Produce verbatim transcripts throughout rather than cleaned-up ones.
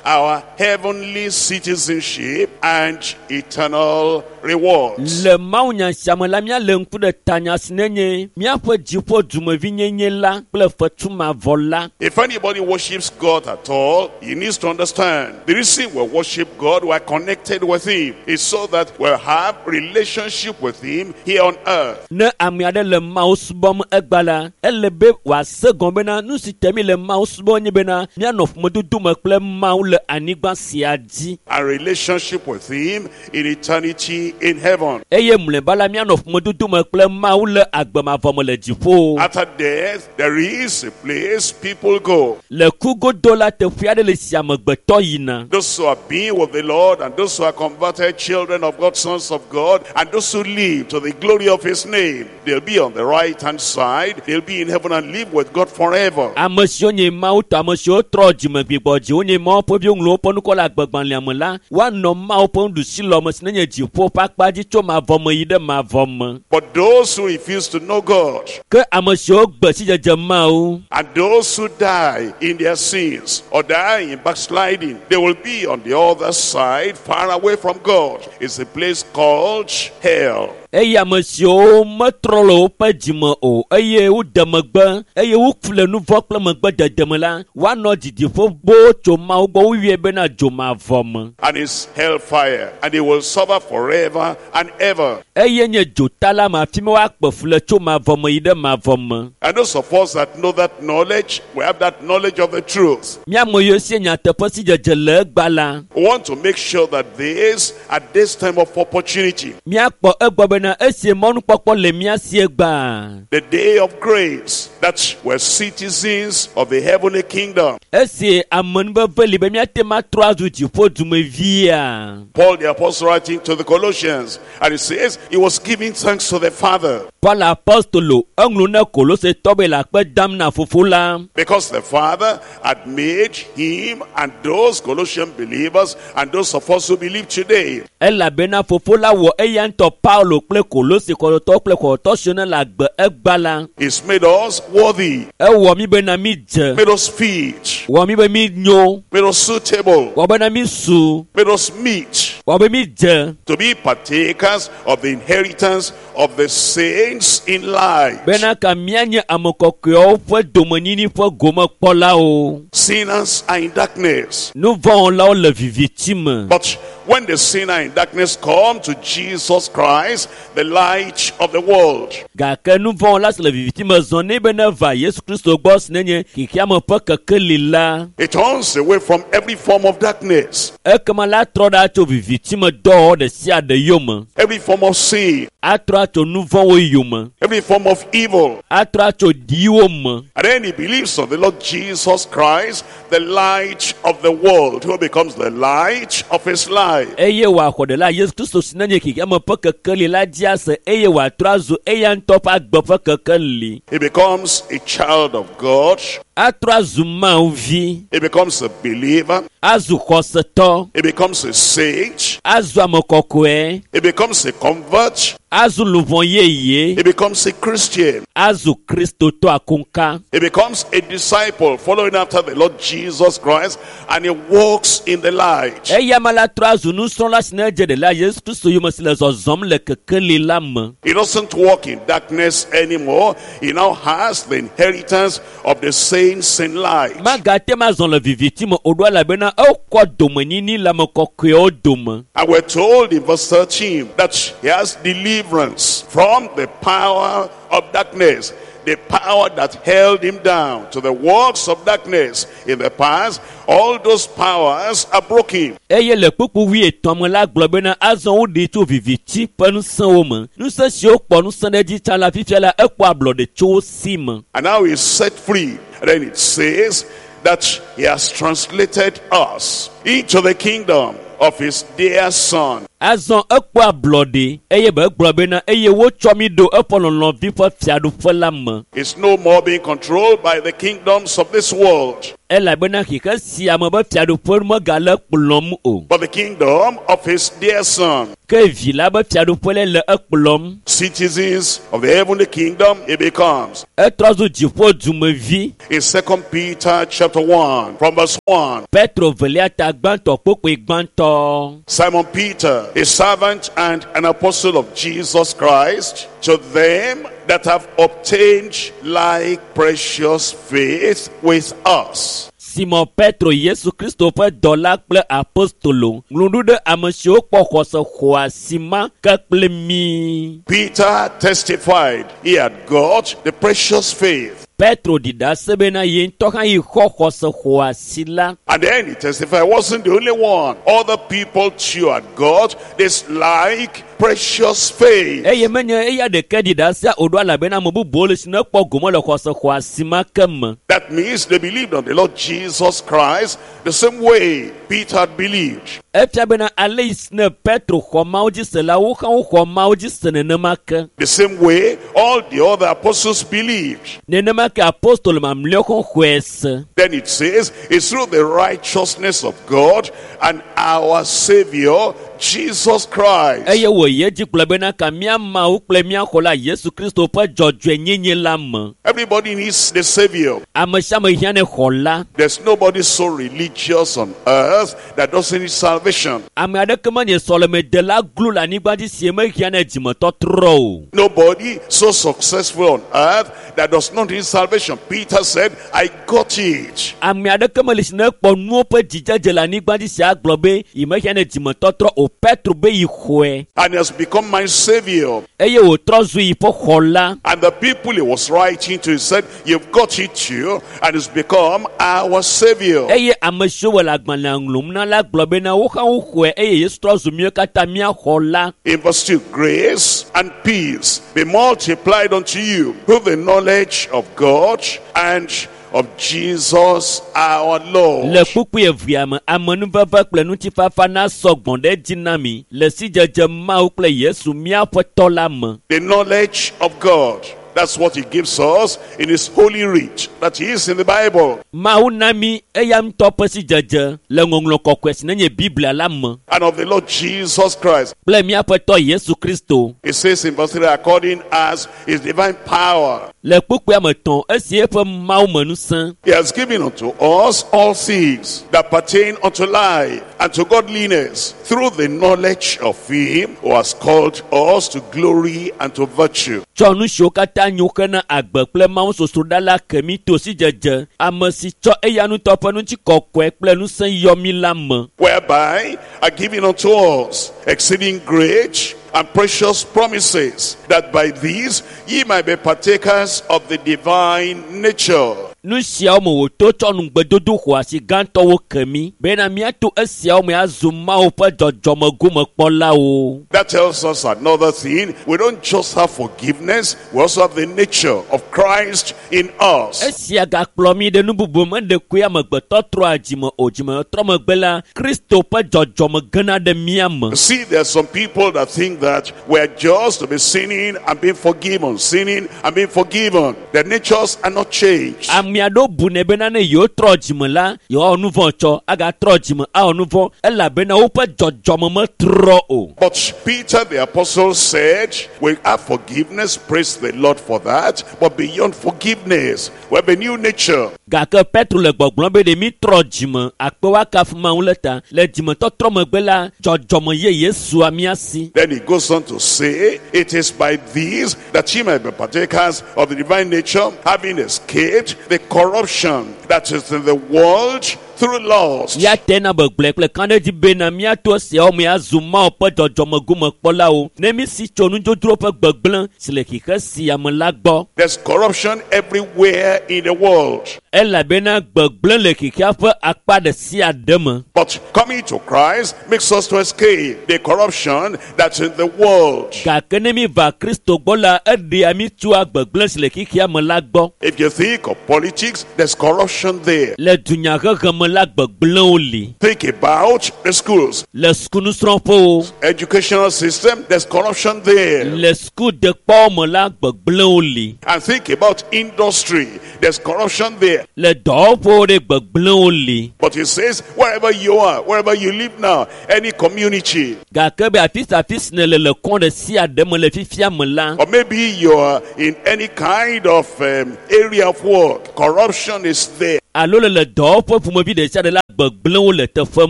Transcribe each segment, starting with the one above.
our heavenly citizenship and eternal rewards. Le mawunya sia me la míale ŋku ɖe tanya si nenye míaƒe dziƒo dumevinyenye la kple fetu mavɔ la. If anybody worships God at all, he needs to understand the reason we worship God, we are connected with Him, is so that we'll have relationship with Him here on earth. Ne ame aɖe le Mawu subɔm egba la, ele be wòase gɔme bena nu si te mi le Mawu subɔm nye bena míanɔ ƒomedodo me kple Mawu le anyigba sia dzi. And relationship with Him in eternity in heaven. Eye mlɔeba la míanɔ ƒomedodo me kple Mawu le agbe mavɔ me le dziƒo. After death, there is a place people go. Le ku godo la teƒe aɖe le si amegbetɔ yina. Those who have been with the Lord and those who are converted children of God, sons of God, and those who live to the glory of His name, they'll be on the right hand side. They'll be in heaven and live with God forever. Ame siwo nye Mawu tɔ, ame siwo trɔ dzime gbigbɔ dzi, wonye Mawu ƒe viwo ŋlɔ woƒe ŋkɔ le agbegbalẽa me la, woanɔ Mawu ƒe nuɖusilɔ me si nenye dziƒo ƒe akpa dzi tso mavɔ me yi ɖe mavɔ me. But those who refuse to know God Ke ame siwo gbe sidzedze Mawu and those who die in their sins or die in backsliding, they will be on the other side, far away from God. It's a place called hell. Eye ame siwo metrɔ le woƒe dzime o eye wode megbe eye woku le nu vɔ̃ kple megbedede me la, woanɔ didiƒe boo tso Mawu gbɔ woyɔe bena dzomavɔ me. And it's hellfire. And they will suffer forever and ever. Eye nye dzota la me afi ma woakpe fu le tso mavɔ me yi ɖe mavɔ me. And those of us that know that knowledge, we have that knowledge of the truth. Mía ame yiwo sie nyateƒe sidzedze le egbea la, We want to make sure that this, at this time of opportunity, míakpɔ egbɔ bena esie mɔnukpɔkpɔ le mía si egbea. the day of grace, that we're citizens of the heavenly kingdom. Esi amenuveve li be míate ŋu atrɔ azu dziƒo dumevia. Paul the apostle writing to the Colossians, and he says he was giving thanks to the Father Paul apostolo eŋlɔ na Kolosetɔ be le akpe dam na fofo la. because the Father had made him and those Colossian believers and those of us who believe today Elabena fofo la wɔ eya ŋutɔ Paulo kple Kolose xɔsetɔwo kple xɔsetɔ siwo ne le agbe egbea la. He's made us worthy, Ewɔ mí bena mí dze. made us fit, Wɔ mí be mí nyo. made us suitable, Wɔ bena mí su. made us meet Wɔ be mí dze. to be partakers of the inheritance of the saints in light. Bena ka míanye ame kɔkɔewo ƒe domenyinyi ƒe gomekpɔlawo. Sinners are in darkness. Nu vɔ̃wɔlawo le viviti me. But when the sinner in darkness come to Jesus Christ, the light of the world, Gake nu vɔ̃wɔla si le viviti me zɔ nɛ be ne va Yesu Kristo gbɔ si nenye xexeame ƒe kekeli la. it turns away from every form of darkness, Ekema la trɔ ɖa tso viviti me dɔwɔwɔ ɖe sia ɖe yome. every form of sin, Atrɔ atso nu vɔ̃wo yome. every form of evil. Atrɔ atso ɖiwo me. And then he believes on the Lord Jesus Christ, the light of the world, who becomes the light of his life. Eye wòaxɔ ɖela Yesu Kristo si nenye xexeame ƒe kekeli la dzi ase eye wòatrɔ azu eya ŋutɔ ƒe agbe ƒe kekeli. He becomes a child of God. Atrɔ azu Mawu vi. He becomes a believer. Azu xɔsetɔ. He becomes a saint. Azu ame kɔkɔe. He becomes a convert. Azu luʋɔ yeye. He becomes a Christian. Azu Kristotɔ akonka. He becomes a disciple following after the Lord Jesus Christ and he walks in the light. Eya me la trɔ azu nusrɔ̃la si ne dze ɖela Yesu Kristo yome si le zɔzɔm le kekeli la me. He doesn't walk in darkness anymore. He now has the inheritance of the saints in light. Magate ma zɔ le viviti me o ɖo elabena ekɔ domenyinyi le ame kɔkɔewo dome. And we're told in verse thirteen that he has deliverance from the power of darkness, the power that held him down to the works of darkness in the past. All those powers are broken. Eye le kpukpu wuietɔ̃ me la gblɔ bena azɔ woɖee tso viviti ƒe ŋusẽwo me. Ŋusẽ siwo kpɔ ŋusẽ ɖe edzi tsã la fifia la ekpɔ ablɔɖe tso wo si me. And now he's set free. And then it says that he has translated us into the kingdom of his dear son. Azɔ ekpɔ ablɔɖe eye be egblɔ bena eye wotsɔ mi ɖo eƒe lɔlɔ̃vi ƒe fiaɖuƒe la me. It's no more being controlled by the kingdoms of this world, Elabena xixe sia me be fiaɖuƒe megale kplɔm o. but the kingdom of his dear son. Ke vi la be fiaɖuƒe le le ekplɔm. Citizens of the heavenly kingdom, he becomes. Etrɔ zu dziƒo dumevi. In Second Peter chapter one, from verse one, Petro velia ta gbãtɔ kpokpoe gbãtɔ. Simon Peter, a servant and an apostle of Jesus Christ, to them that have obtained like precious faith with us. Simon Petro Yesu Kristo ƒe dɔla kple apostolo ŋlɔ nu ɖe ame siwo kpɔ xɔse xɔasi ma ke kple mí. Peter testified he had got the precious faith. Petro ɖi ɖase bena ye ŋutɔ hã yi xɔ xɔse xɔasi la. And then he testified, he wasn't the only one. Other people too had got this like precious faith. Eye menye eya ɖeke ɖi ɖasea o ɖo elabena ame bubuwo le si ne kpɔ gome le xɔse xɔasi ma ke me. That means they believed on the Lord Jesus Christ the same way Peter had believed. Efia bena ale yi si ne Petro xɔ Mawu dzi se la, wo hã woxɔ Mawu dzi se nenema ke. The same way all the other apostles believed. Nenema ke apostolo mamlɛawo hã xɔe se. Then it says, it's through the righteousness of God and our Savior, Jesus Christ. Eye wòyi edzi gblɔ bena ka mía Mawu kple mía xɔla Yesu Kristo ƒe dzɔdzɔenyenye la me. Everybody needs the Savior. Ame sia ame hiã ne xɔla. There's nobody so religious on earth that doesn't need salvation. Ame aɖeke menye sɔlemedela glo le anyigba dzi si mehiã ne dzimetɔtrɔ o. Nobody so successful on earth that does not need salvation. Peter said, I got it. Ame aɖeke meli si ne kpɔ nuwo ƒe dzidzedze le anyigba dzi si agblɔ be yi mehiã ne dzimetɔtrɔ o. Petro be yi xɔe And he has become my Savior. eye wòtrɔ zu yi ƒe xɔla. And the people he was writing to, he said, you've got it too. And it's become our Savior. Eye ame siwo wɔ le agbalẽa ŋlɔm na la gblɔ bena wo hã woxɔe eye Yesu trɔ zu míawo katã mía xɔla. In verse two, grace and peace be multiplied unto you through the knowledge of God and of Jesus our Lord. Le kpukpui evea me, amenuveve kple ŋutifafa nasɔ gbɔ̃ ɖe edzi na mi le sidzedze Mawu kple Yesu míaƒe tɔ la me. The knowledge of God. That's what he gives us in his holy writ that is in the Bible. Mawu na mi eya ŋutɔ ƒe sidzedze le ŋɔŋlɔ kɔkɔe si nenye Biblia la me And of the Lord Jesus Christ. kple míaƒe tɔ Yesu Kristo. It says in verse three, according as his divine power, Le kpukpuia me tɔ̃, esi eƒe Mawu me ŋusẽ he has given unto us all things that pertain unto life and to godliness through the knowledge of him who has called us to glory and to virtue. Tsɔ nu siwo katã nyo hena agbe kple Mawu sosroɖa la ke mi to sidzedze, ame si tsɔ eya ŋutɔ ƒe ŋutikɔkɔe kple ŋusẽ yɔ mi la me. Whereby are given unto us exceeding great and precious promises, that by these ye might be partakers of the divine nature. Nu siawo me wòto tsɔ nugbedodo xɔasi gãtɔwo ke mi bena míato esiawo me azu Mawu ƒe dzɔdzɔmegomekpɔlawo. That tells us another thing. We don't just have forgiveness, we also have the nature of Christ in us. Esia gakplɔ mi ɖe nu bubu me ɖekoe amegbetɔ trɔa dzime o dzimetrɔ megbe la, Kristo ƒe dzɔdzɔme gena ɖe mía me. You see, there are some people that think that we're just to be sinning and being forgiven, sinning and being forgiven. Their natures are not changed. Ame aɖewo bunɛ bena ne yewotrɔ dzime la, yewoawɔ nu vɔ̃ tsɔ, agatrɔ dzime awɔ nu vɔ̃ elabena woƒe dzɔdzɔme metrɔ o. But Peter the apostle said, we have forgiveness, praise the Lord for that. But beyond forgiveness, we have a new nature. Gake Petro le gbɔgblɔm be ɖe mi trɔ dzime akpe woakafu Mawu le ta. Le dzimetɔtrɔ megbe la, dzɔdzɔme yeye sua mía si. Then he goes on to say, it is by these that ye might be partakers of the divine nature, having escaped the corruption that is in the world through lust. Ya te na be gblɔe kple kan ɖe dzi bena míato esiawo me azu Mawu ƒe dzɔdzɔmegomekpɔlawo ne mi si tso nudzodzro ƒe gbegblẽ si le xixe sia me la gbɔ. There's corruption everywhere in the world. Elabena gbegblẽ le xexea ƒe akpa ɖe sia ɖe me. But coming to Christ makes us to escape the corruption that's in the world. Gake ne mi va Kristo gbɔ la, eɖea mi tsoa gbegblẽ si le xexea me la gbɔ. If you think of politics, there's corruption there. Le dunyahehe me la, gbegblẽwo li. Think about the schools, Le sukunusrɔ̃ƒewo, educational system, there's corruption there. le sukudekpɔwo me la, gbegblẽwo li. And think about industry, there's corruption there. Le dɔwɔƒewo ɖe gbegblẽwo li. But he says, wherever you are, wherever you live now, any community, Gake be afi sia afi si nèle le kɔn ɖe sia ɖe me le fifia me la, or maybe you are in any kind of um, area of work, corruption is there. alo le le dɔwɔƒe ƒomevi ɖe sia ɖe la, gbegblẽwo le teƒe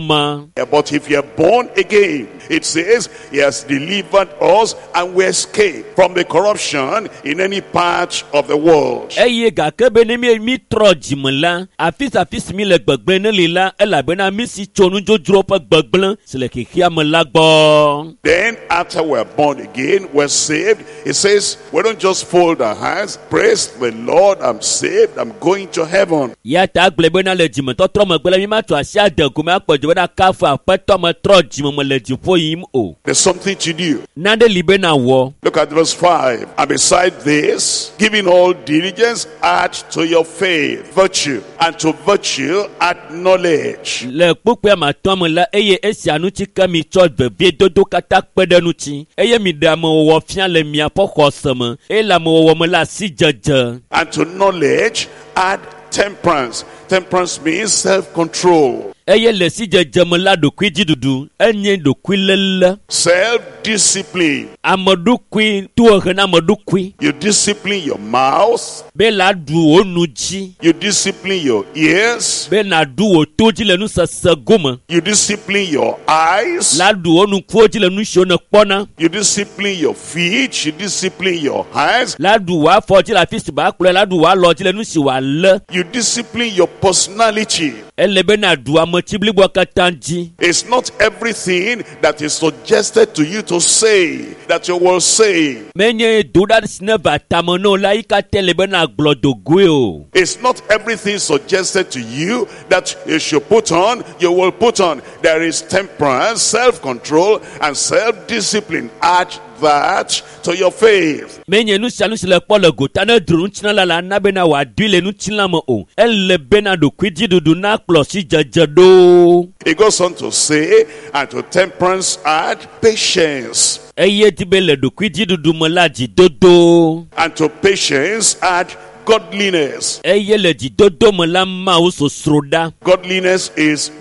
ma. But if you are born again, it says he has delivered us and we escape from the corruption in any part of the world. Eye gake be ne mi mi trɔ dzime la, afi sia afi si mi le gbegblẽ ne li la, elabena mi si tso nudzodzro ƒe gbegblẽ si le xexea me la gbɔ. Then after we're born again, we're saved. It says we don't just fold our hands, praise the Lord, I'm saved, I'm going to heaven. Ya ta gblɔe bena le dzimetɔtrɔ megbe la, mi ma tso asi ade gome akpɔ dzo bena kafu aƒetɔ me trɔ dzime me le dziƒo yim o. There's something to do. Nane li bena wɔ. Look at verse five. And beside this, giving all diligence, add to your faith virtue, and to virtue add knowledge. Le kpukpui ame atɔ̃ me la, eye esia ŋuti ke mi tsɔ veviedodo katã kpe ɖe ŋuti, eye mi ɖe amewɔwɔ fia le miaƒe xɔse me, eye le amewɔwɔ me la asidzedze. And to knowledge, add temperance. Temperance means self-control, Eye le sidzedze me la ɖokuidziɖuɖu, enye ɖokuiléle. self-discipline. Ame ɖokui tohehe na ame ɖokui. You discipline your mouth, Be la ɖu wò nu dzi. you discipline your ears, Be nàɖu wò to dzi le nusese gome. you discipline your eyes, La ɖu wò ŋkuwo dzi le nu siwo nèkpɔna. you discipline your feet, you discipline your hands, La ɖu wò afɔ dzi le afi si wòakplɔe, la ɖu wò alɔ dzi le nu si wòalé. you discipline your personality. Ele be nàɖu ametsi bliboa katã dzi. It's not everything that is suggested to you to say that you will say. Menye do ɖa si neva tame na wò la yi katã le be nàgblɔ dogoe o. It's not everything suggested to you that you should put on, you will put on. There is temperance, self-control, and self-discipline. Add that to your faith. Menye nu sia nu si le kpɔ le gota ne dro ŋutilã la la na bena wòadoe le ŋutilã me o. Ele bena ɖokuidziɖuɖu nakplɔ sidzedze ɖo. It goes on to say, and to temperance add patience, Eye di be le ɖokuidziɖuɖu me la dzidodo. and to patience add godliness. Eye le dzidodo me la Mawu sosroɖa. Godliness is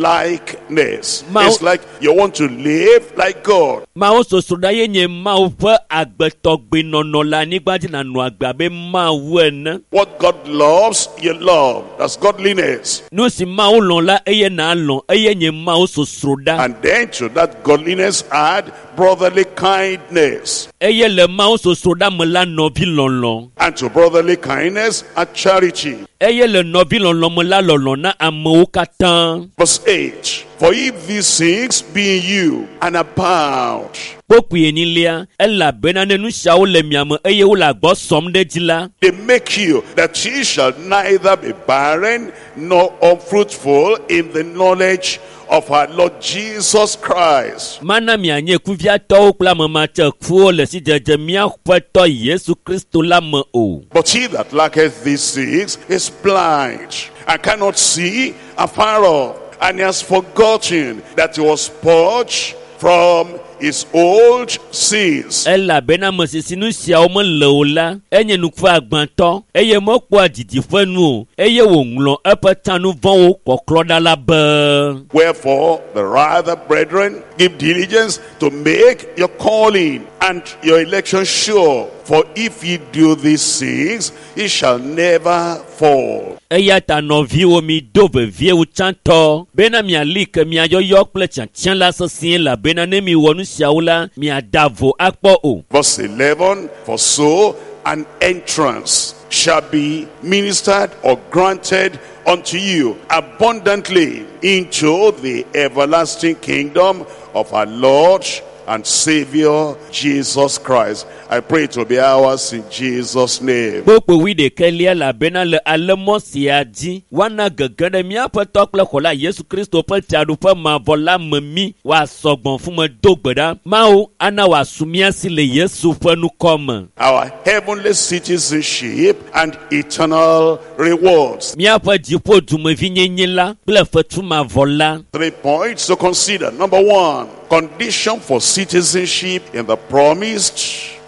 God-likeness. Ma- It's like you want to live like God. Mawu sosroɖa ye nye Mawu ƒe agbetɔgbenɔnɔ le anyigba dzi nànɔ agbe abe Mawu ene. What God loves, you love. That's godliness. Nu si Mawu lɔ̃ la eye nàlɔ̃ eye nye Mawu sosroɖa. And then to that godliness add brotherly kindness. Eye le Mawu sosroɖa me la nɔvi lɔlɔ̃. And to brotherly kindness add charity. Eye le nɔvi lɔlɔ̃ me la lɔlɔ̃ na amewo katã. Verse eight. For if these things be in you and abound, Kpokpui enyilia, elabena ne nu siawo le mia me eye wole agbɔ sɔm ɖe edzi la, they make you that ye shall neither be barren nor unfruitful in the knowledge of our Lord Jesus Christ. mana mianye kuviatɔwo kple ame matsekuwo le sidzedze mía Ƒetɔ Yesu Kristo la me o. But he that lacketh these things is blind and cannot see afar off, and he has forgotten that he was purged from his old sins. Elabena ame si si nu siawo mele o la, enye nuku agbãtɔ eye mekpɔa didiƒe nu o eye wòŋlɔ eƒe tanuvɔ̃wo kɔklɔ ɖa la be. Wherefore, the rather, brethren, give diligence to make your calling and your election sure. For if ye do these things, ye shall never fall. Eya ta nɔviwo mi do vevie wu tsãtɔ bena miali ke miayɔyɔ kple tiatia la sesĩe elabena ne miwɔ nu siawo la, miada vo akpɔ o. Verse eleven, for so an entrance shall be ministered or granted unto you abundantly into the everlasting kingdom of our Lord and Savior, Jesus Christ. I pray it will be ours in Jesus' name. Kpukpui wuiɖekɛlia elabena le ale mɔ sia dzi woana gege ɖe míaƒe tɔ kple xɔla Yesu Kristo ƒe fiaɖuƒe mavɔ la me mí wòasɔ gbɔ̃ fume do gbe ɖa. Mawu ana wòasu mía si le Yesu ƒe ŋkɔ me. Our heavenly citizenship and eternal rewards. Míaƒe dziƒo dumevinyenye la kple fetu mavɔ la. Three points to consider. Number one, condition for citizenship in the promised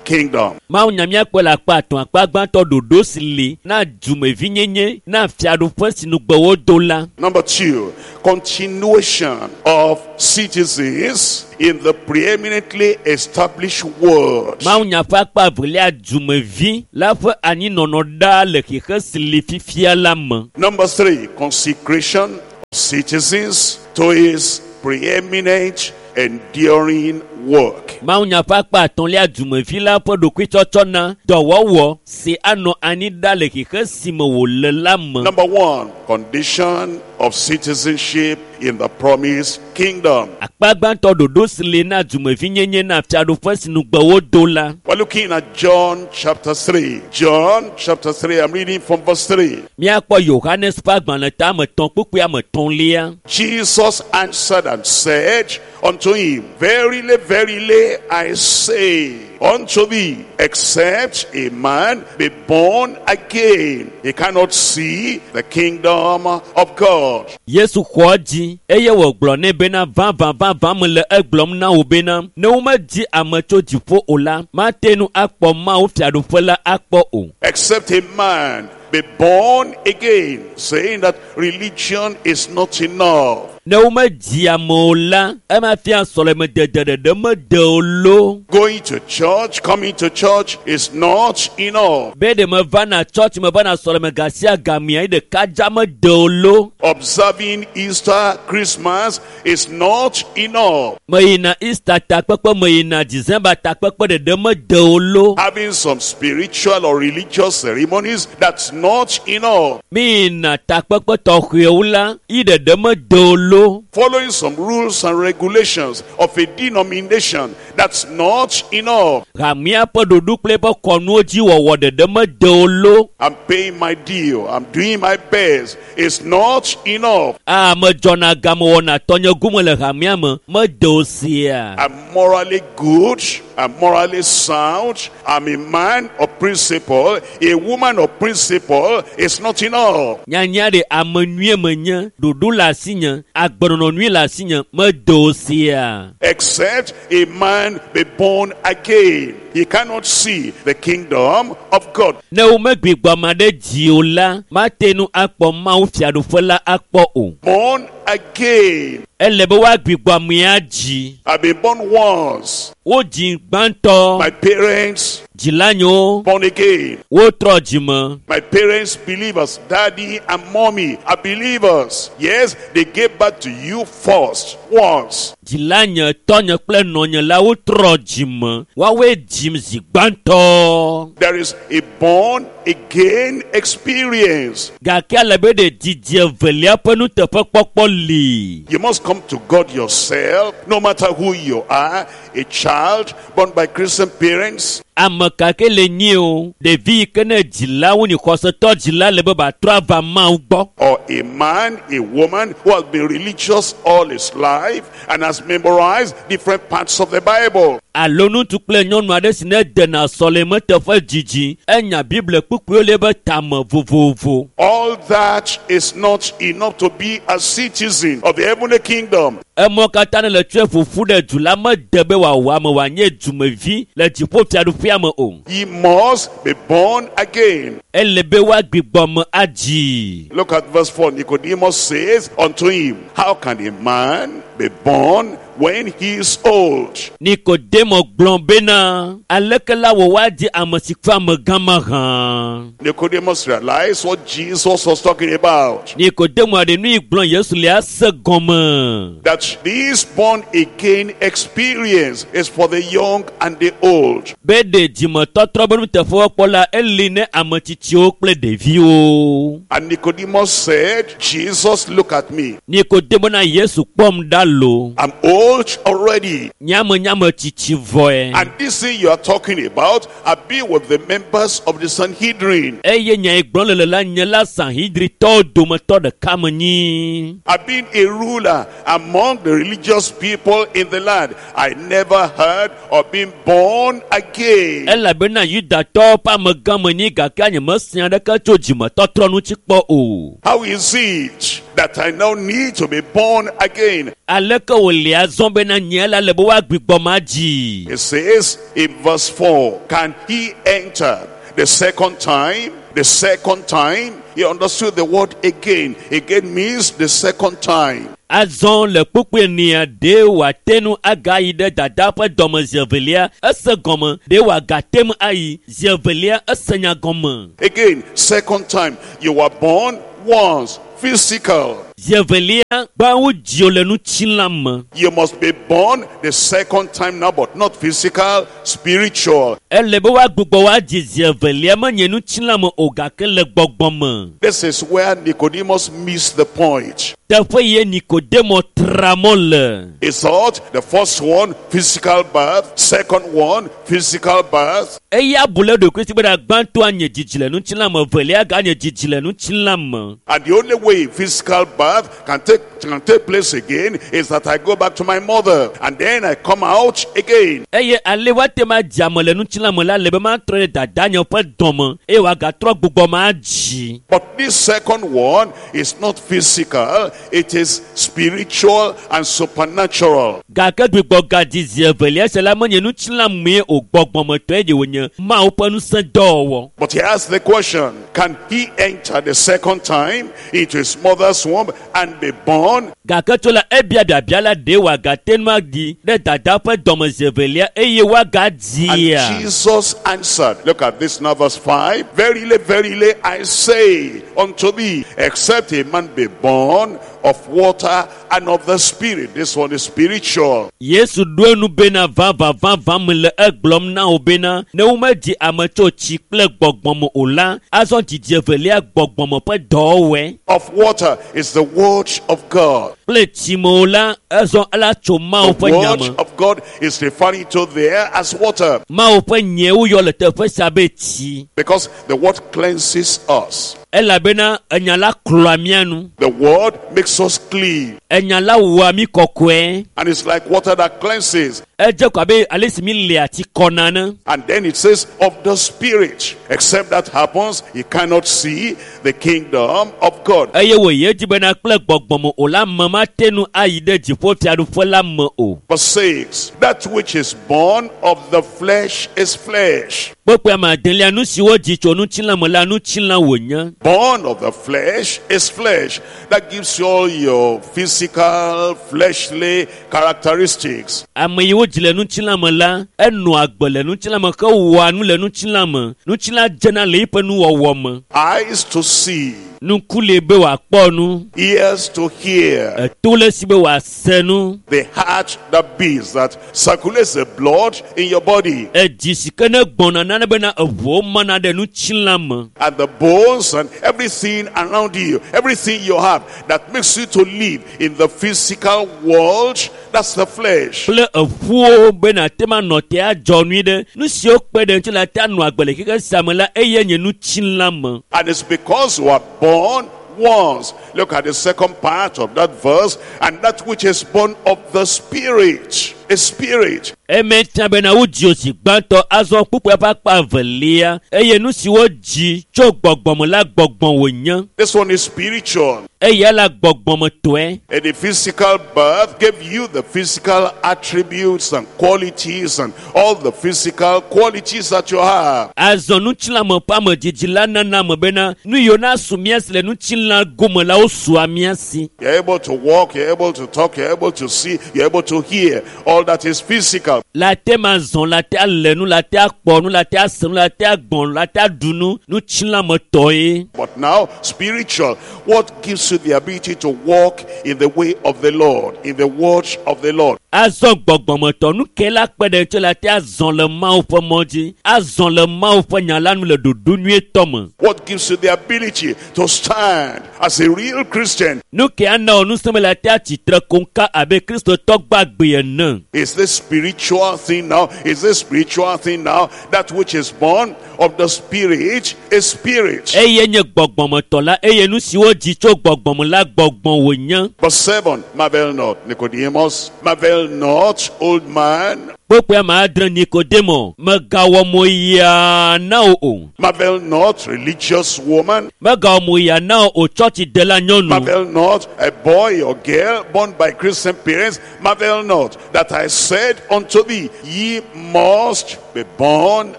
kingdom. Mawu nya míakpɔe le akpa atɔ̃ akpa gbãtɔ ɖoɖo si li na dumevinyenye na fiaɖuƒe si nugbe wodo la. Number two, continuation of citizens in the preeminently established world. Mawu nya ƒe akpa evelia dumevi la ƒe anyinɔnɔ ɖaa le xexe si li fifia la me. Number three, consecration of citizens to his preeminent enduring work. Mawu nya ƒe akpa atɔ̃lia dumevi la ƒe ɖokuitsɔtsɔ na dɔwɔwɔ si anɔ anyi ɖa le xexe si me wòle la me. Number one, condition of citizenship in the promised kingdom. Akpa gbãtɔ ɖoɖo si li na dumevinyenye na fiaɖuƒe si nugbe wodo la. We're looking at John chapter three. John chapter three, I'm reading from verse three. Míakpɔ Yohanes ƒe agbalẽ ta ame etɔ̃ kpukpui ame etɔ̃lia. Jesus answered and said unto him, Verily, verily, I say unto thee, except a man be born again, he cannot see the kingdom of God. Yesu xɔ edzi eye wògblɔ nɛ bena vavã vavã mele egblɔm na wò bena ne womedzi ame tso dziƒo o la, mate ŋu akpɔ Mawu fiaɖuƒe la akpɔ o. Except a man be born again, saying that religion is not enough. Ne womedzi ame o la, ema fia sɔlemedede ɖeɖe mede o lo. Going to church, coming to church is not enough. Be ɖe mevana tsɔtsi mevana sɔleme gasia gamea yi ɖeka dza mede o lo. Observing Easter, Christmas is not enough. Meyina Easter takpekpe, meyina December takpekpe ɖeɖe mede o lo. Having some spiritual or religious ceremonies, that's not enough. Miyina takpekpe tɔxɛwo la, yi ɖeɖe mede o lo. Following some rules and regulations of a denomination, that's not enough. Hamea ƒe ɖoɖo kple eƒe kɔnuwo dzi wɔwɔ ɖeɖe mede o lo. I'm paying my due, I'm doing my best, it's not enough. Aa, medzɔna game wɔna tɔnye gome le hamea me, mede o sia. I'm morally good, I'm morally sound, I'm a man of principle, a woman of principle, it's not enough. Nyanya ɖe ame nyuie menye, ɖoɖo le asinye, agbenɔnɔ nyui le asinye, mede o sia. Except a man be born again, he cannot see the kingdom of God. Ne womegbugbɔ ame aɖe dzi o la, mate ŋu akpɔ Mawu fiaɖuƒe la akpɔ o. Born again. Ele be woagbugbɔ amea dzi. I've been born once. Wodzi gbãtɔ. My parents Dzilanyewo born again. wotrɔ dzime. My parents believers, daddy and mommy are believers. Yes, they gave birth to you first, once. Dzilanye, tɔnye kple nɔnye la wotrɔ dzime. Woawoe dzim zi gbãtɔ. There is a born again experience. Gake ale be ɖe didi evelia ƒe nuteƒekpɔkpɔ li. You must come to God yourself, no matter who you are, a child born by Christian parents, Ame ka ke le nyi o, ɖevi yi ke ne dzilawo nyi xɔsetɔ dzila le be batrɔ ava Mawu gbɔ. or a man, a woman who has been religious all his life and has memorized different parts of the Bible. Alo ŋutsu kple nyɔnu aɖe si ne dena sɔleme teƒe dzidzi, enya Biblia kpukpuiwo le eƒe tame vovovo. All that is not enough to be a citizen of the heavenly kingdom. Emɔ katã ne le tsɔe ƒoƒu ɖe du la mede be wòawɔ ame wòanye dumevi le dziƒofiaɖuƒea me o. He must be born again. Ele be woagbugbɔ me adzi. Look at verse four. Nicodemus says unto him, How can a man be born when he is old? Nikodemo gblɔ bena, aleke la wò woadzi ame si ƒe amegã mahã? Nicodemus realized what Jesus was talking about. Nikodemo aɖe nu yi gblɔ Yesu le ase gɔme. That this born again experience is for the young and the old. Be ɖe dzimetɔtrɔ be nuteƒewɔkpɔ la eli ne ame tsitsiwo kple ɖeviwo. And Nicodemus said, Jesus, look at me. Nikodemo na Yesu kpɔm ɖa lo. I'm old old already. Nye ame nye ame tsitsi vɔe. And this thing you are talking about, I've been with the members of the Sanhedrin. Eye nya yi gblɔm le le la nye la Sanhedritɔwo dometɔ ɖeka me nyi. I've been a ruler among the religious people in the land. I never heard of being born again. Elabena Yudatɔwo ƒe amegã me nyi gake nye mese aɖeke tso dzimetɔtrɔ ŋuti kpɔ o. How is it that I now need to be born again? Aleke wòle azɔ bena nye la le be woagbugbɔ ma dzi? It says in verse four, can he enter the second time? The second time, he understood the word again. Again means the second time. Azɔ le kpukpui enea, ɖe wòate ŋu agayi ɖe dada ƒe dɔme zi evelia, ese gɔme, ɖe wòagate ŋu ayi zi evelia, ese nya gɔme. Again, second time, you were born once, physical. Zi evelia, gbã wodzi wò le ŋutilã me. You must be born the second time now, but not physical, spiritual. Ele be woagbugbɔ woadzi zi evelia, menye ŋutilã me o, gake le gbɔgbɔ me. This is where Nicodemus missed the point. Teƒe ye Nikodemo tra mɔ le. He thought the first one, physical birth, second one, physical birth. Eya bu le ɖokui si bena gbãtɔa nye dzidzi le ŋutilã me, evelia ganye dzidzi le ŋutilã me. And the only way physical birth can take, can take place again is that I go back to my mother and then I come out again. Eye ale woate ŋu adzi ame le ŋutilã me la le be matrɔ ɖe dadanye ƒe dɔme eye wòagatrɔ gbugbɔ ma adzi. But this second one is not physical, it is spiritual and supernatural. Gake gbugbɔ gadzi zi evelia sia la menye ŋutilã mee o, gbɔgbɔmetɔe ɖe wònye Mawu ƒe ŋusẽ dɔwɔwɔ. But he asked the question, can he enter the second time into his mother's womb and be born? Gake tso la ebia biabia la ɖe wòagate ŋu aɖi ɖe dada ƒe dɔme zi evelia eye woagadzia. And Jesus answered, look at this now, verse five. Verily, verily, I say unto thee, except a man be born of water and of the Spirit. This one is spiritual. Yesu ɖo enu bena vavã vavã me le egblɔm na wo bena ne womedzi ame tso tsi kple gbɔgbɔ me o la, azɔ dzidzi evelia gbɔgbɔme ƒe dɔwɔwɔe. Of water is the word of God. Kple tsi me o la, ezɔ ela tso Mawu The ƒe nya word me. of God is referring to there as water. Mawu ƒe nyae woyɔ le teƒe sia be tsi. Because the word cleanses us. Elabena enya la klɔa mía nu. The word makes us clean. Enya la wɔa mí kɔkɔe. And it's like water that cleanses. Edze ko abe ale si mi le ati kɔna ne. And then it says of the Spirit. Except that happens, you cannot see the kingdom of God. Eye wòyi edzi bena kple gbɔgbɔ me o la, ame mate ŋu ayi ɖe dziƒofiaɖuƒe la me o. Verse six, that which is born of the flesh is flesh. Kpukpui ame adelia, nu si wodzi tso ŋutilã me la, ŋutilã wònye. Born of the flesh is flesh. That gives you all your physical, fleshly characteristics. Ame yi wodzi le ŋutilã me la, enɔa agbe le ŋutilã me hewɔa nu le ŋutilã me. Ŋutilã dzena le eƒe nuwɔwɔ me. Eyes to see, Ŋku le be wòakpɔ nu, ears to hear, eto le si be wòase nu, the heart that beats, that circulates the blood in your body, edzi si ke ne gbɔna nane bena eʋuwo mana ɖe ŋutilã me, and the bones and everything around you, everything you have that makes you to live in the physical world, that's the flesh. kple eƒuwo be nàte ŋu anɔ te adzɔ nui ɖe nu siwo kpe ɖe ŋuti la te anɔ agbe le xexe sia me la, eye nye ŋutilã me. And it's because you are born once. Look at the second part of that verse. And that which is born of the Spirit is spirit. Eme fia bena wodzi wò zi gbãtɔ azɔ kpukpuia ƒe akpa evelia eye nu si wodzi tso gbɔgbɔ me la gbɔgbɔ wònye. This one is spiritual. Eya la gbɔgbɔmetɔe. And the physical birth gave you the physical attributes and qualities and all the physical qualities that you have. Azɔ ŋutilãme ƒe amedzidzi la nana ame bena nu yiwo nasu mía si le ŋutilã gome la wosua mía si. You're able to walk, you're able to talk, you're able to see, you're able to hear. All that is physical. La te ma zɔn, la te alé nu, la te akpɔ nu, la te ase nu, la te agbɔn, la te aɖu nu, ŋutilãmetɔe. But now, spiritual. What gives you the ability to walk in the way of the Lord, in the word of the Lord? Azɔ gbɔgbɔmetɔ nu ke la kpe ɖe ŋuti la te azɔ le Mawu ƒe mɔ dzi, azɔ le Mawu ƒe nya la nu le ɖoɖo nyuietɔ me. What gives you the ability to stand as a real Christian? Nu ke ana wò ŋusẽ be la te atsitre koŋka abe Kristotɔ gbagbe ene. Is this spiritual thing now? Is this spiritual thing now? That which is born of the Spirit is spirit. Eye nye gbɔgbɔmetɔ la eye nu siwo dzi tso gbɔgbɔme la gbɔgbɔ wònye. Verse seven, marvel not, Nicodemus, marvel not, old man, Kpokpoe ame adre Nikodemo megawɔ mo yaa na wò o. marvel not, religious woman, Megawɔ mo yaa na wò o tsɔtsidela nyɔnu. marvel not, a boy or girl born by Christian parents, marvel not, that I said unto thee, ye must be born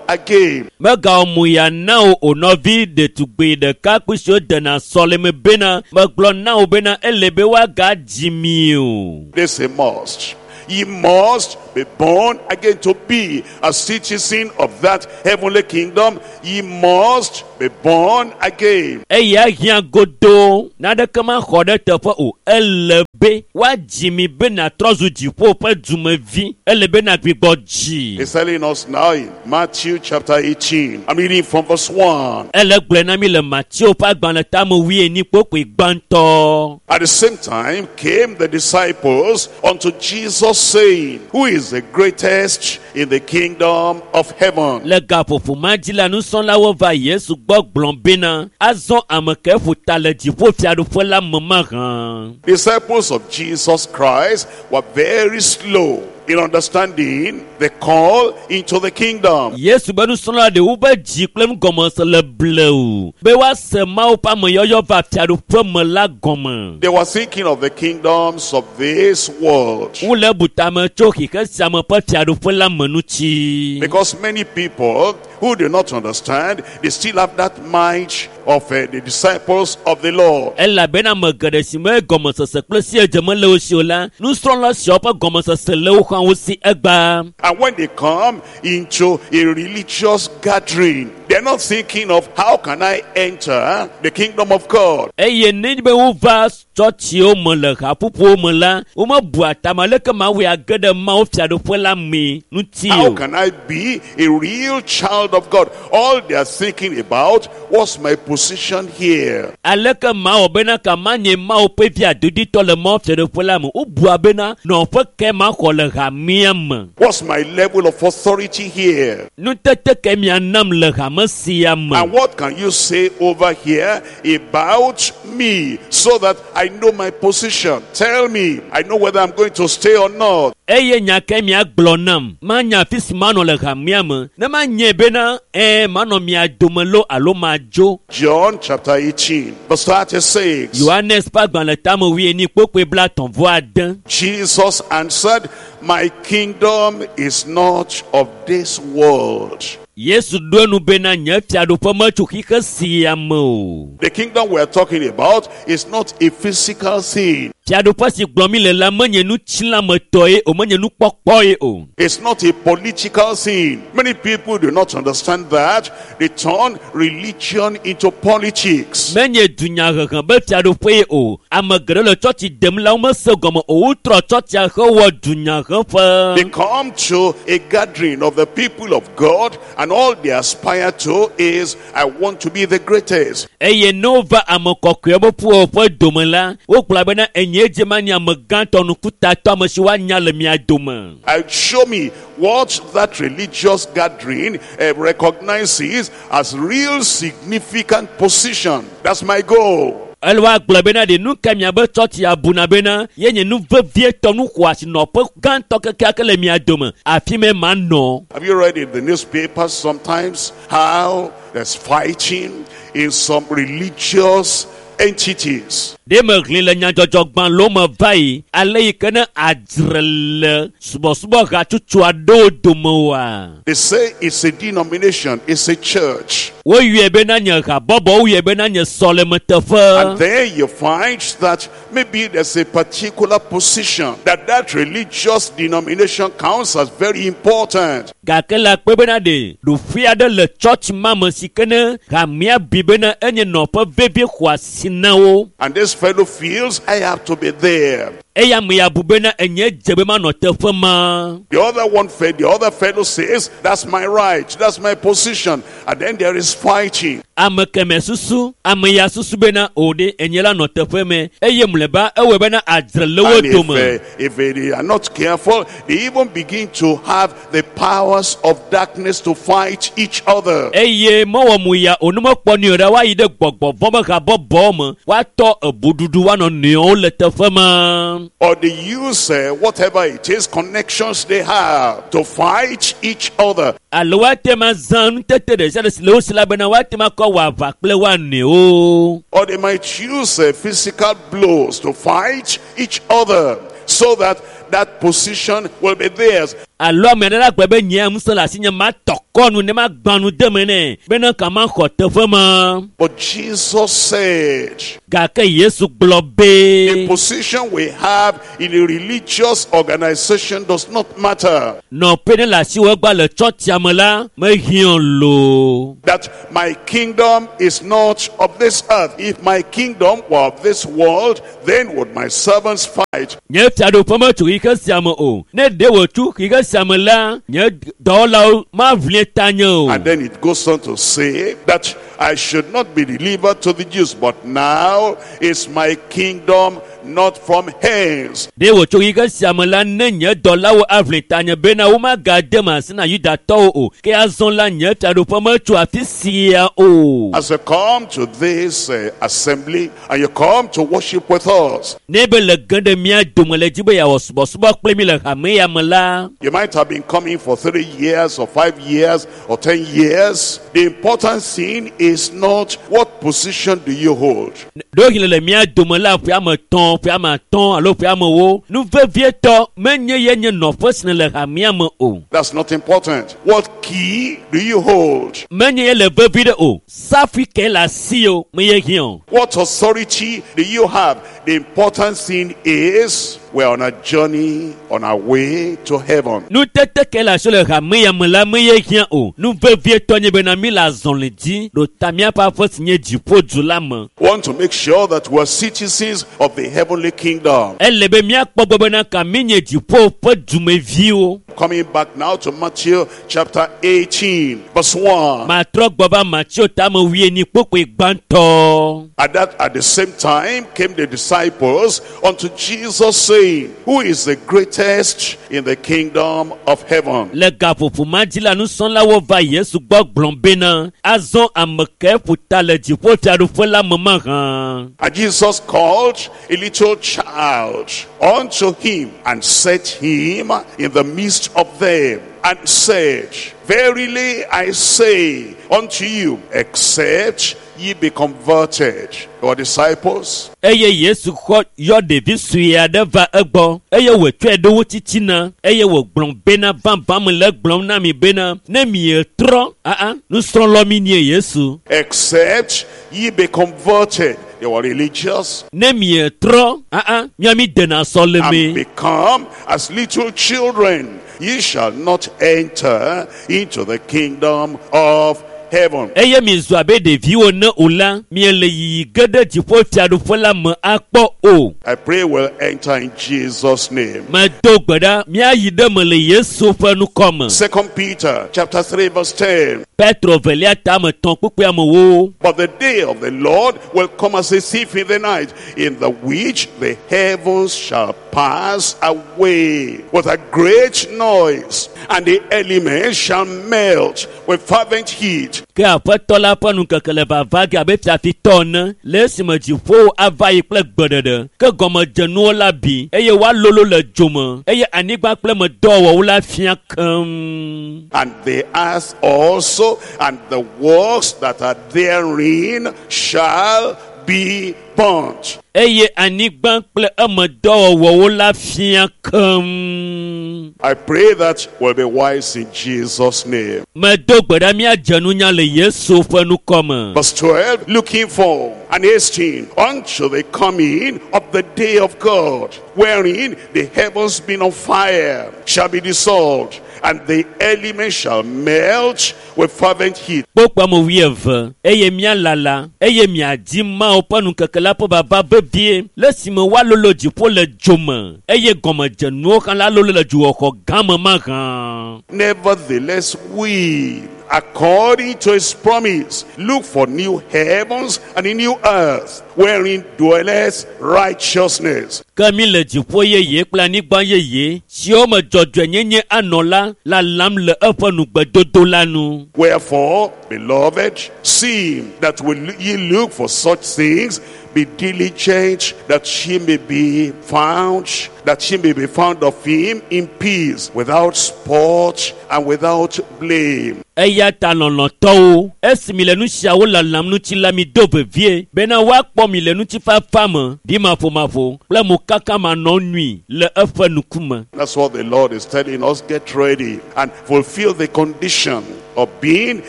again. Megawɔ mo yaa na wò o nɔvi ɖetugbi ɖekakpui siwo dena sɔleme bena megblɔ na wò bena ele be woagadzi mi o. This a must. Ye must be born again to be a citizen of that heavenly kingdom. Ye must be born again. Eya hiã godoo naneke maxɔ ɖe teƒe o. Ele be woadzi mi be nàtrɔ zu dziƒo ƒe dumevi. Ele be nàgbugbɔ dzi. He's telling us now in Matthew chapter eighteen. I'm reading from verse one. Ele gblɔe na mi le Mateo ƒe agbalẽ tame wuienyi kpokpoe gbãtɔ. At the same time came the disciples unto Jesus, saying, Who is the greatest in the kingdom of heaven? Le gaƒoƒo ma dzi la nusrɔ̃lawo va Yesu gbɔ gblɔ bena azɔ ame ke ƒo ta le dziƒo fiaɖuƒe la me mahã. Disciples of Jesus Christ were very slow in understanding the call into the kingdom. Yesu be nusrɔ̃la ɖewo be dzi kple nugɔmese le blewu be woase Mawu ƒe ameyɔyɔ va fiaɖuƒe me la gɔme. They were thinking of the kingdoms of this world. Wole bu tame tso xixe sia me ƒe fiaɖuƒe la me ŋuti. Because many people who do not understand, they still have that mind of uh, the disciples of the Lord. Elabena ame geɖe si me gɔmesese kple siedze mele wo si o la, nusrɔ̃la siawo ƒe gɔmesese le wo hã wo si egbea. And when they come into a religious gathering, they're not thinking of how can I enter the kingdom of God. Eye nenye be wova tsɔtsiwo me le haƒoƒowo me la, womebua tame aleke mawɔe age ɖe Mawu fiaɖuƒe la mee ŋuti How o. can I be a real child of God? All they are thinking about, what's my position here? Aleke mawɔ bena ka manye Mawu ƒe vi adoditɔ le Mawu fiaɖuƒe la me? Wobua bena nɔƒe ke maxɔ le hamea me. What's my level of authority here? Nutete ke mianam le hame sia me. And what can you say over here about me so that I know my position? Tell me. I know whether I'm going to stay or not. Eye nya ke miagblɔ nam, manya afi si manɔ le hamea me, ne manye bena ɛɛ manɔ mia dome loo alo madzo. John chapter eighteen, verse thirty-six. Yohanes ƒe agbalẽ tame wuienyi kpokpoe blaetɔ̃ vɔ ade. Jesus answered, My kingdom is not of this world. Yesu ɖo enu bena nye fiaɖuƒe metso xixe sia me o. The kingdom we are talking about is not a physical thing. Fiaɖuƒe si gblɔm mi le la menye nutsilametɔ ye o, menye nukpɔkpɔ ye o. It's not a political thing. Many people do not understand that. They turn religion into politics. Menye dunyahehe be fiaɖuƒe ye o. Ame geɖe le tsɔtsi dem la womese gɔme o. Wotrɔ tsɔtsia hewɔ dunyaheƒe. They come to a gathering of the people of God, and all they aspire to is, I want to be the greatest. Eye ne wova ame kɔkɔewo ƒe ƒuƒoƒe dome la, wogblɔ bena enye dze manye ame gãtɔ nukutatɔ ame si woanya le mia dome. And show me what that religious gathering uh, recognizes as real significant position. That's my goal. Ele woagblɔ bena ɖe nu ka miabe tsɔtsi abuna bena ye nye nu vevietɔ nu xɔasi nɔƒe gãtɔ kekeake le mia dome. Afi me manɔ. Have you read in the newspapers sometimes how there's fighting in some religious entities? Ɖe mehlẽ le nyadzɔdzɔgbalẽwo me va yi ale yi ke ne adzre le subɔsubɔ hatsotso aɖewo dome oa? They say it's a denomination, it's a church. Woyɔe bena nye habɔbɔ, woyɔe bena nye sɔlemeteƒe. And there you find that maybe there's a particular position that that religious denomination counts as very important. Gake le akpe bena ɖe ɖoƒe aɖe le tsɔtsi ma me si ke ne hamea bi bena enye nɔƒe vevie xɔasi na wo. And this fellow feels, I have to be there. Eya ame ya bu bena enye dze be manɔ teƒe ma. The other one, fe- the other fellow says, that's my right, that's my position. And then there is fighting. Ame kemɛ susu, ame ya susu bena o ɖe enye la nɔ teƒe me eye mlɔeba ewɔe bena adzre le wo And if, dome. uh, if they are not careful, they even begin to have the powers of darkness to fight each other. Eye mewɔ mu ya o ne mekpɔ nui o ɖa woayi ɖe gbɔgbɔ vɔ̃ be habɔbɔwo me woatɔ ebuɖuɖu woanɔ nɔewo le teƒe ma. Or they use uh, whatever it is, connections they have to fight each other. Alo woate ma zã nutete ɖe sia ɖe si le wo si la bena woate ma kɔ wɔ aʋa kple woa nɔewo. Or they might use uh, physical blows to fight each other so that that position will be theirs. Alo ame aɖe la gblɔ be nye ŋusẽ le asinye matɔ kɔ nu ne magbã nu de me nɛ bena ka maxɔ teƒe ma. But Jesus said, Gake Yesu gblɔ the be position we have in a religious organization does not matter. nɔƒe ne le asiwò egba le tsɔtsia me la mehiã loo. That my kingdom is not of this earth. If my kingdom were of this world, then would my servants fight. Nye fiaɖuƒe metso xixe sia me o. Ne ɖe wòtso xixe sia me la, nye dɔwɔlawo maʋli tanye o. And then it goes on to say that I should not be delivered to the Jews, but now is my kingdom not from hence. Ɖe wòtso xixe sia me la, ne nye dɔlawo aʋli tanye bena womagade me asi na Yudatɔwo o. Ke azɔ la, nye fiaɖuƒe metso afi sia o. As you come to this uh, assembly and you come to worship with us, Ne be le ge ɖe mía dome le dzi be yeawɔ subɔsubɔ kple mi le hame ya me la, you might have been coming for three years or five years or ten years. The important thing is not what position do you hold. ɖewohĩ le le mía dome la ƒe ame etɔ̃, ƒe ame atɔ̃ alo ƒe ame ewo, nu vevietɔ menye ye nye nɔƒe si le hamea me o. That's not important. What key do you hold? Menye ye le vevi ɖe o. Safui ke le asi o, me ye hiã o. What authority do you have? The important thing is we're on a journey on our way to heaven. Nutete ke le asi le hame ya me la me ye hiã o. Nu vevietɔ nye bena mi le azɔli dzi ɖo ta míaƒe aƒe si nye dziƒodu la me. Want to make sure that we're citizens of the heavenly kingdom. Ele be míakpɔ gbɔ bena ka mi nye dziƒo ƒe dumeviwo. Coming back now to Matthew chapter eighteen, verse one. Matrɔ gbɔ va Mateo tame wuienyi kpokpoe gbãtɔ. At that at the same time came the disciples unto Jesus, saying, Who is the greatest in the kingdom of heaven? Le gaƒoƒo ma dzi la, nusrɔ̃lawo va Yesu gbɔ gblɔ bena, azɔ ame ke ƒo ta le dziƒo fiaɖuƒe la me mahã. And Jesus called a little child unto him and set him in the midst of them and said, Verily I say unto you, except ye be converted. Your disciples, Eye Yesu xɔ yɔ ɖevi sue aɖe va egbɔ eye wòtsɔe ɖo wo titina eye wògblɔ bena vavã me le egblɔm na mi bena ne mietrɔ aa nusrɔ̃lɔ mi nie Yesu except ye be converted. They were religious ne mietrɔ aa mia mi dena and sɔleme become as little children, ye shall not enter into the kingdom of heaven. eye mizu abe ɖeviwo ne o la miele yiyi ge ɖe dziƒo fiaɖuƒe la me akpɔ o. I pray we'll enter in Jesus' name. Medo gbe ɖa míayi ɖe me le Yesu ƒe ŋkɔ me. Second Peter chapter three verse ten. Petro velia tame tɔ̃ kpukpui amewo. But the day of the Lord will come as a thief in the night, in the which the heavens shall pass away with a great noise, and the elements shall melt with fervent heat. Ke aƒetɔ la ƒe nukeke le vava ge abe fiafitɔ ene le esime dziƒowo ava yi kple gbeɖeɖe ke gɔmedzenuwo la bi eye woalolo le dzome eye anyigba kple medɔwɔwɔwo la fia keŋ. And the earth also and the works that are therein shall be burnt. Eye anyigba kple emedɔwɔwɔwo la fia keŋ. I pray that we'll be wise in Jesus' name. Medo gbe ɖa míadze nunya le Yesu ƒe ŋkɔ me. Verse twelve, looking for and hasting unto the coming of the day of God, wherein the heavens being on fire shall be dissolved, and the elements shall melt with fervent heat. Kpokpo ame wuieve eye míalala eye miadi Mawu ƒe nukeke la ƒe vava vevie vevie le esime woalolo dziƒo le dzome eye gɔmedzenuwo hã la lolo le dzuxɔxɔ gã me mahã. Nevertheless, we, according to his promise, look for new heavens and a new earth, wherein dwelleth righteousness. Ke mi le dziƒo yeye kple anyigba yeye siwo me dzɔdzɔenyenye anɔ la lalam le eƒe nugbedodo la nu. Wherefore, beloved, seeing that will ye look for such things, be diligent that ye may be found, that ye may be found of him in peace, without spot and without blame. Eya ta lɔlɔ̃tɔwo, esi mi le nu siawo lalam ŋuti la mi do vevie bena woakpɔ mi le ŋutifafa me, ɖimaƒomaƒo kple mokaka manɔnui le eƒe ŋkume. That's what the Lord is telling us. Get ready and fulfill the condition of being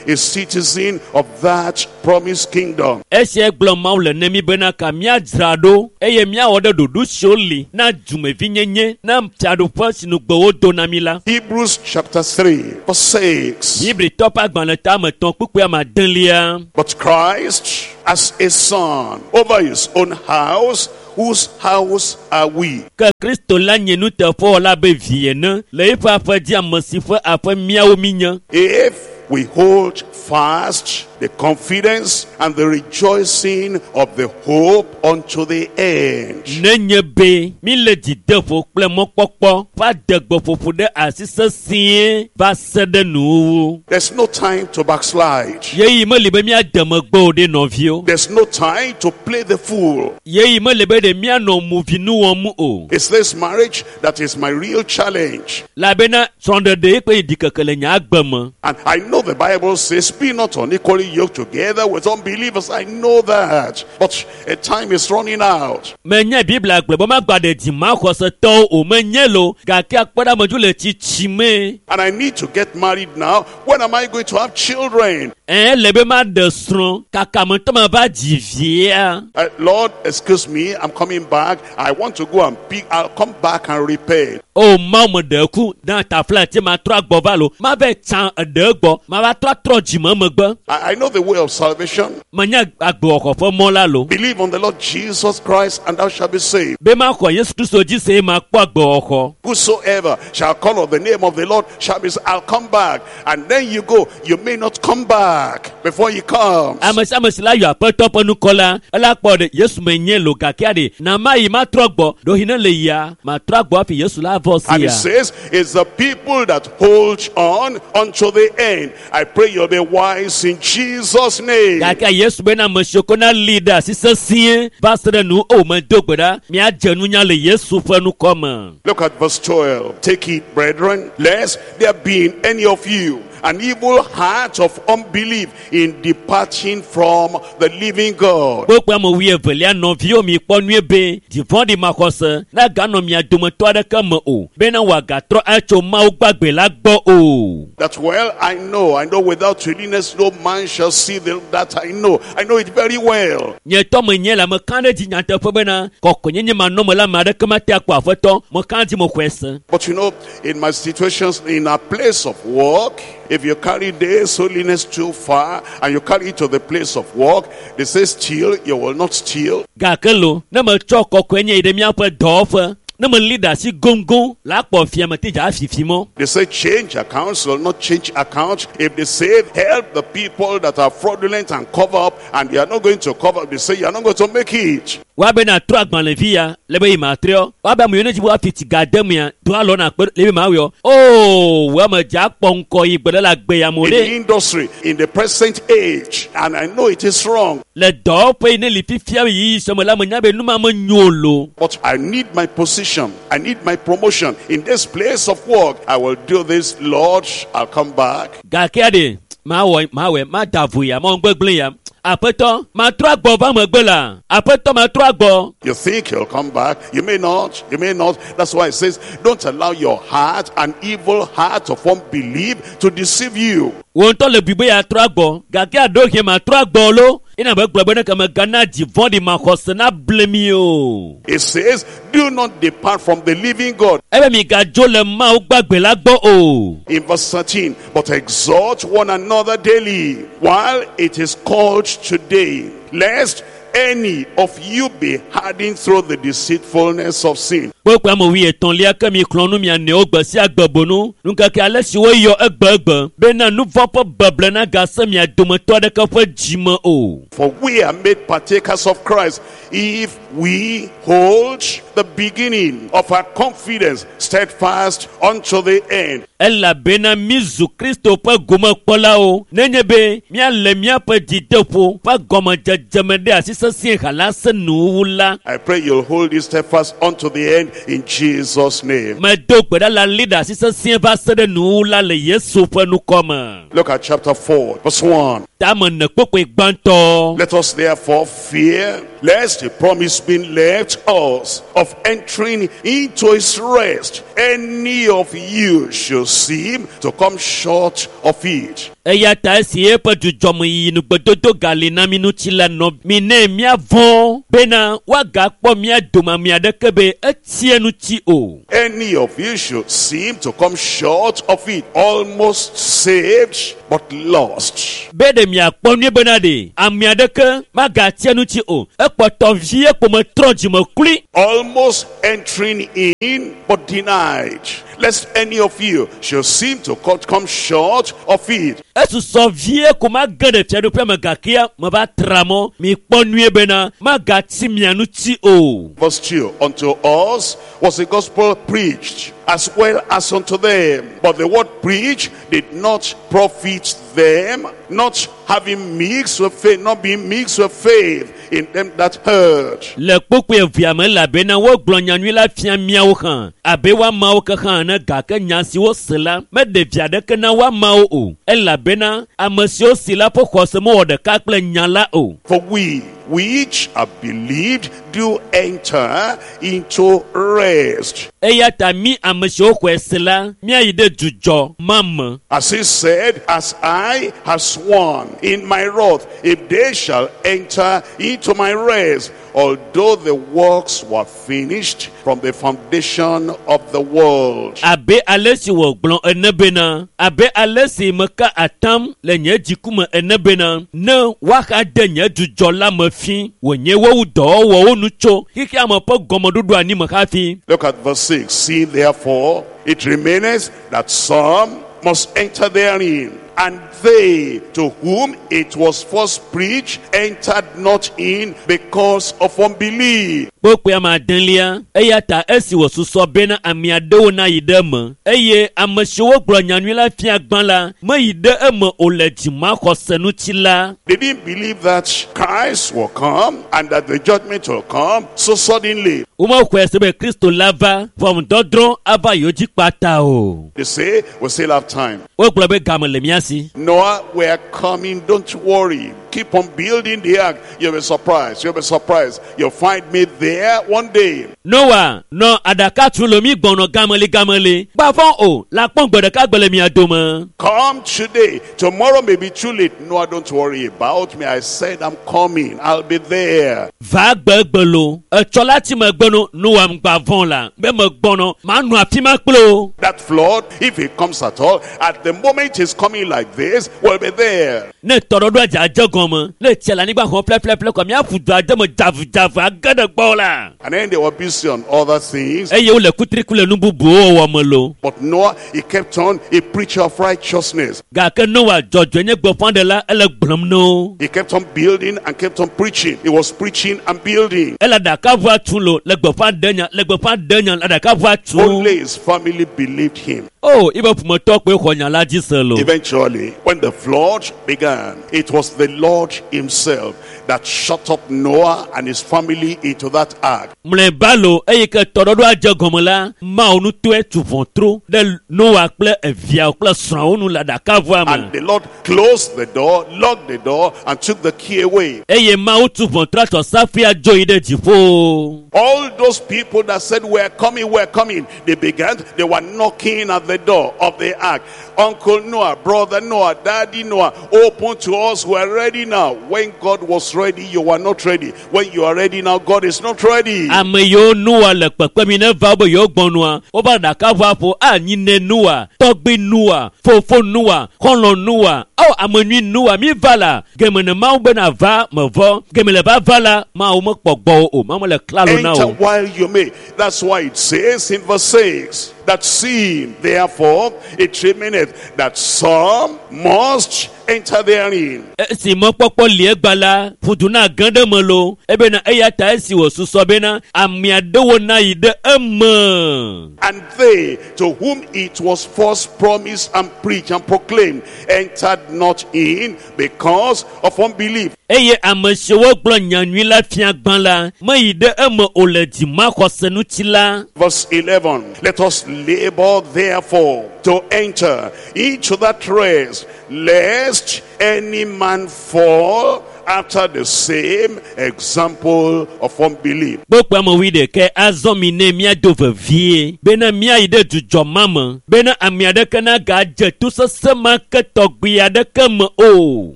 a citizen of that promised kingdom. Esia gblɔ Mawu le ne mi bena ka míadzra ɖo eye míawɔ ɖe ɖoɖo siwo li na dumevinyenye na fiaɖuƒe si nugbe wodo na mi la. Hebrews chapter three, verse six. Hebritɔ ƒe agbalẽ ta ame etɔ̃ kpukpui ame adelia. But Christ as a son over his own house, whose house are we? Ke Kristo la nye nuteƒewɔla be vi ene le eƒe aƒe dzi ame si ƒe aƒe míawo míenye. If we hold fast the confidence and the rejoicing of the hope unto the end. Nenye be mi le dzideƒo kple mɔkpɔkpɔ ƒe adegbeƒoƒo ɖe asi sesĩe va se ɖe nuwuwu. There's no time to backslide. Yeyi meli be míade megbe o ɖe nɔviwo. There's no time to play the fool. Yeyi meli be ɖe míanɔ movinu wɔm o. It's this marriage that is my real challenge. Elabena srɔ̃ɖeɖe kple ɖikeke le nye agbe me. And I know the Bible says, be not unequally yoked together with unbelievers. I know that. But a time is running out. Menye Biblia gblɔ be magba ɖe dzimaxɔsetɔwo o menye lo gake akpɔɖamedzo le tsitsime. And I need to get married now. When am I going to have children? Ɛɛ le be maɖe srɔ̃ kaka me ŋutɔ mava dzi via. Uh, Lord, excuse me, I'm coming back. I want to go and pick. I'll come back and repay. O Mawu me ɖe ku na tafla ti ma trɔ agbɔ va lo ma vɛ tsã eɖe gbɔ ma va trɔ atrɔ dzime megbe. I, I know the way of salvation. Menye agbewɔxɔ ƒe mɔ la lo. Believe on the Lord Jesus Christ and thou shalt be saved. Be maxɔ Yesu Kristo dzi se eye makpɔ agbewɔxɔ. Whosoever shall call on the name of the Lord shall be saved. I'll come back. And then you go. You may not come back before he comes. Ame sia ame si la yɔ aƒetɔ ƒe nukɔ la, ela kpɔ ɖe Yesu menye lo gake aɖe na ma yi matrɔ gbɔ ɖewohĩ ne le yia matrɔ agbɔ hafi Yesu la vɔ And sia. it says, it's the people that hold on unto the end. I pray you'll be wise in Jesus' name. Gake Yesu bena ame siwo ko na li ɖe asi sesĩe va se ɖe nu o medo gbe ɖa míadze nunya le Yesu ƒe nukɔ me. Look at verse twelve. Take it, brethren, lest there be in any of you an evil heart of unbelief in departing from the living God. Kpokpo ame wuievelia nɔviwo mi kpɔ nyuie be dzivɔ̃ɖi maxɔse naganɔ mia dometɔ aɖeke me o bena wòagatrɔ atso Mawu gbagbe la gbɔ o. That well, I know, I know without holiness no man shall see the, that I know. I know it very well. Nye tɔ menye la meka ɖe dzi nyateƒe bena kɔkɔenyenye manɔme la ame aɖeke mate akpɔ aƒetɔ meka dzi mexɔe se. But you know, in my situations, in a place of work, if you carry this holiness too far and you carry it to the place of work, they say steal, you will not steal. Gake lo, ne metsɔ kɔkɔenye yi ɖe míaƒe dɔwɔƒe, ne meli ɖe asi goŋgoŋ la akpɔ fiame te dza afifi mɔ. They say change accounts, will not change accounts. If they say help the people that are fraudulent and cover up, and they are not going to cover up, they say you are not going to make it. Woabe na trɔ agbalẽvi ya le be yi ma trɔ. Woabe ame yiwo ne dzi be woafi tsi ga de mea, do alɔ na kpe le be ma wɔe. Oo, wo ame dza akpɔ ŋkɔ yi gbe ɖe le agbe ya me o In ɖe. the industry, in the present age, and I know it is wrong, Le dɔwɔƒe yi ne li fifia yiyi sɔme la menya be nu ma menyo o lo. but I need my position. I need my promotion. In this place of work, I will do this, Lord. I'll come back. Gake aɖe, mawɔ mawɔe, mada vo ya, mawɔ gbegblẽ ya. Aƒetɔ, matrɔ agbɔ va megbe la. Aƒetɔ, matrɔ agbɔ. You think you'll come back. You may not. You may not. That's why it says, don't allow your heart, an evil heart of unbelief, to deceive you. Wo ŋutɔ le bui be yeatrɔ agbɔ. Gake aɖewo hɛn matrɔ agbɔ lo. Ena be gblɔ be ne ke megana dzi vɔ̃ɖi maxɔse na ble mi o. It says, do not depart from the living God. Ebe migadzo le Mawu gbagbe la gbɔ o. In verse thirteen, but exhort one another daily, while it is called today, lest any of you be hardened through the deceitfulness of sin. Kpokpo ame wuietɔ̃lia ke mi xlɔ̃ nu mia nɔewo gbe sia gbe bonu ŋkeke ale si woyɔ egbegbe bena nu vɔ̃ ƒe beble nagase mia dometɔ aɖeke ƒe dzime o. For we are made partakers of Christ if we hold the beginning of our confidence steadfast unto the end. Elabena mi zu Kristo ƒe gomekpɔlawo nenye be míale míaƒe dzideƒo ƒe gɔmedzedzeme ɖe asi sesĩe hala se nuwuwu la. I pray you'll hold it steadfast unto the end in Jesus' name. Medo gbe ɖa la li ɖe asi sesĩe va se ɖe nuwuwu la le Yesu ƒe ŋkɔ me. Look at chapter four, verse one. Tame ene kpokpoe gbãtɔ. Let us therefore fear, lest the promise being left us of entering into his rest, any of you should seem to come short of it. Eya ta esi eƒe dzudzɔmeyiyi nugbedodo gali na mi ŋuti la nɔ mi ne míavɔ̃ bena woagakpɔ mía dome ame aɖeke be etsi eŋuti o. Any of you should seem to come short of it, almost saved, but lost. Be ɖe miakpɔ nyuie bena ɖe ame aɖeke magatsi eŋuti o. Ekpɔtɔ vie ko metrɔ dzime klui. Almost entering in, but denied. Lest any of you should seem to come short of it. Esusɔ vie ko mage ɖe fiaɖuƒea me gakea meva tra mɔ. Mikpɔ nyuie bena magatsi mia ŋuti o. Verse two, unto us was the gospel preached, as well as unto them. But the word preached did not profit them, not having mixed with faith, not being mixed with faith in them that heard. Le kpokpoe evea me elabena wogblɔ nyanyui la fia míawo hã abe woamawo ke hã ene gake nya si wose la meɖe vi aɖeke na woamawo o elabena ame siwo si la ƒe xɔse mewɔ ɖeka kple nya la o. For we which have believed do enter into rest. Eya ta mí ame siwo xɔe se la míayi ɖe dzudzɔ ma me. As he said, as I have sworn in my wrath, if they shall enter into my rest, although the works were finished from the foundation of the world. Abe ale si wògblɔ ene bena, abe ale si meka atam le nye dziku me ene bena, ne woaxa de nye dzudzɔ la me fi, wònye wowu dɔwɔwɔwo nu tso xexea me ƒe gɔmeɖoɖo anyi me hafi. Look at verse six. See therefore, it remaineth that some must enter therein, and they to whom it was first preached entered not in because of unbelief. Kpokpoe ame adelia, eya ta esi wòsusɔ bena ame aɖewo nayi ɖe eme, eye ame siwo gblɔ nyanyui la fia gbã la meyi ɖe eme o le dzimaxɔse ŋuti la. They didn't believe that Christ will come and that the judgment will come so suddenly. Womexɔe se be Kristo la va ʋɔnudɔdrɔ̃ ava yewo dzi kpata o. They say, we still have time. Wogblɔ be game le mía si. Noah, we are coming, don't worry. Keep on building the ark. You'll be surprised. You'll be surprised. You'll find me there one day. Noa nɔ aɖaka tu le mi gbɔnɔ gameli gameli. Gbavɔ o, la kpɔn gbe ɖeka gbe le mia dome. Come today. Tomorrow may be too late. Noah, don't worry about me. I said I'm coming. I'll be there. Va gbegbe lo. Etsɔ la ti megbe no, Noa ŋgba vɔ̃ la. Be megbɔnɔ, manɔ afi ma kple o. That flood, if it comes at all, at the moment it's coming like this, we'll be there. Ne tɔɖɔɖoa dza dze gɔme, ne tsia le anyigba xɔm ƒleƒleƒle kɔ míaƒu du ade me dzavu age ɖe gbɔ la. And then they were busy on other things. Eye wole kutriku le nu bubuwo wɔwɔ me lo. But Noah, he kept on a preacher of righteousness. Gake Noa dzɔdzɔe nye gbeƒãɖela ele gblɔm na wo. He kept on building and kept on preaching. He was preaching and building. Ele aɖakaʋua tum lo, le gbeƒã ɖe nya, le gbeƒã ɖe nya, le aɖakaʋua tum. Only his family believed him. O, yibe ƒometɔ koe xɔ nya la dzi se lo. Eventually, when the flood began, it was the Lord himself that shut up Noah and his family into that ark. Mlɔeba lo, eyi ke tɔɖɔɖoa dze gɔme la, Mawu ŋutɔe tu ʋɔtru ɖe Noa kple eviawo kple srɔ̃awo nu le aɖakaʋua me. And the Lord closed the door, locked the door, and took the key away. Eye Mawu tu ʋɔtrua tsɔ safia dzo yi ɖe dziƒo. All those people that said, we're coming, we're coming, they began, they were knocking at the door of the ark. Uncle Noah, brother Noah, Daddy Noah, open to us, we're ready now. When God was was ready, you were not ready. When you are ready now, God is not ready. Ame yiwo Noa le kpekpe mi ne va wo be yewo gbɔ nua, wova ɖaka ʋua ƒo anyi ne Noa, tɔgbui Noa, fofo Noa, xɔlɔ̃ Noa, awɔ ame nyui Noa mi va la, geme ne Mawu bena va mevɔ, geme le va va la, Mawu mekpɔ gbɔwò o, Mawu mele klalo na Enter o. while you may. That's why it says in verse six that seeing, therefore, it remaineth that some must enter therein. Esi mɔkpɔkpɔ li egba la, ƒudu na ge ɖe me lo, ebena eya ta esi wòsusɔ bena ame aɖewo na yi ɖe eme. And they to whom it was first promised and preached and proclaimed entered not in because of unbelief. Eye ame siwo gblɔ nyanyui la fia gbã la, meyi ɖe eme o le dzimaxɔse ŋuti la. Verse eleven, let us labor therefore to enter into that rest, lest any man fall after the same example of unbelief. Kpokpo ame wuiɖekɛ azɔ mi ne míado vevie bena míayi ɖe dzudzɔ ma me bena ame aɖeke nagadze to sesẽ ma ke tɔgbi aɖeke me o.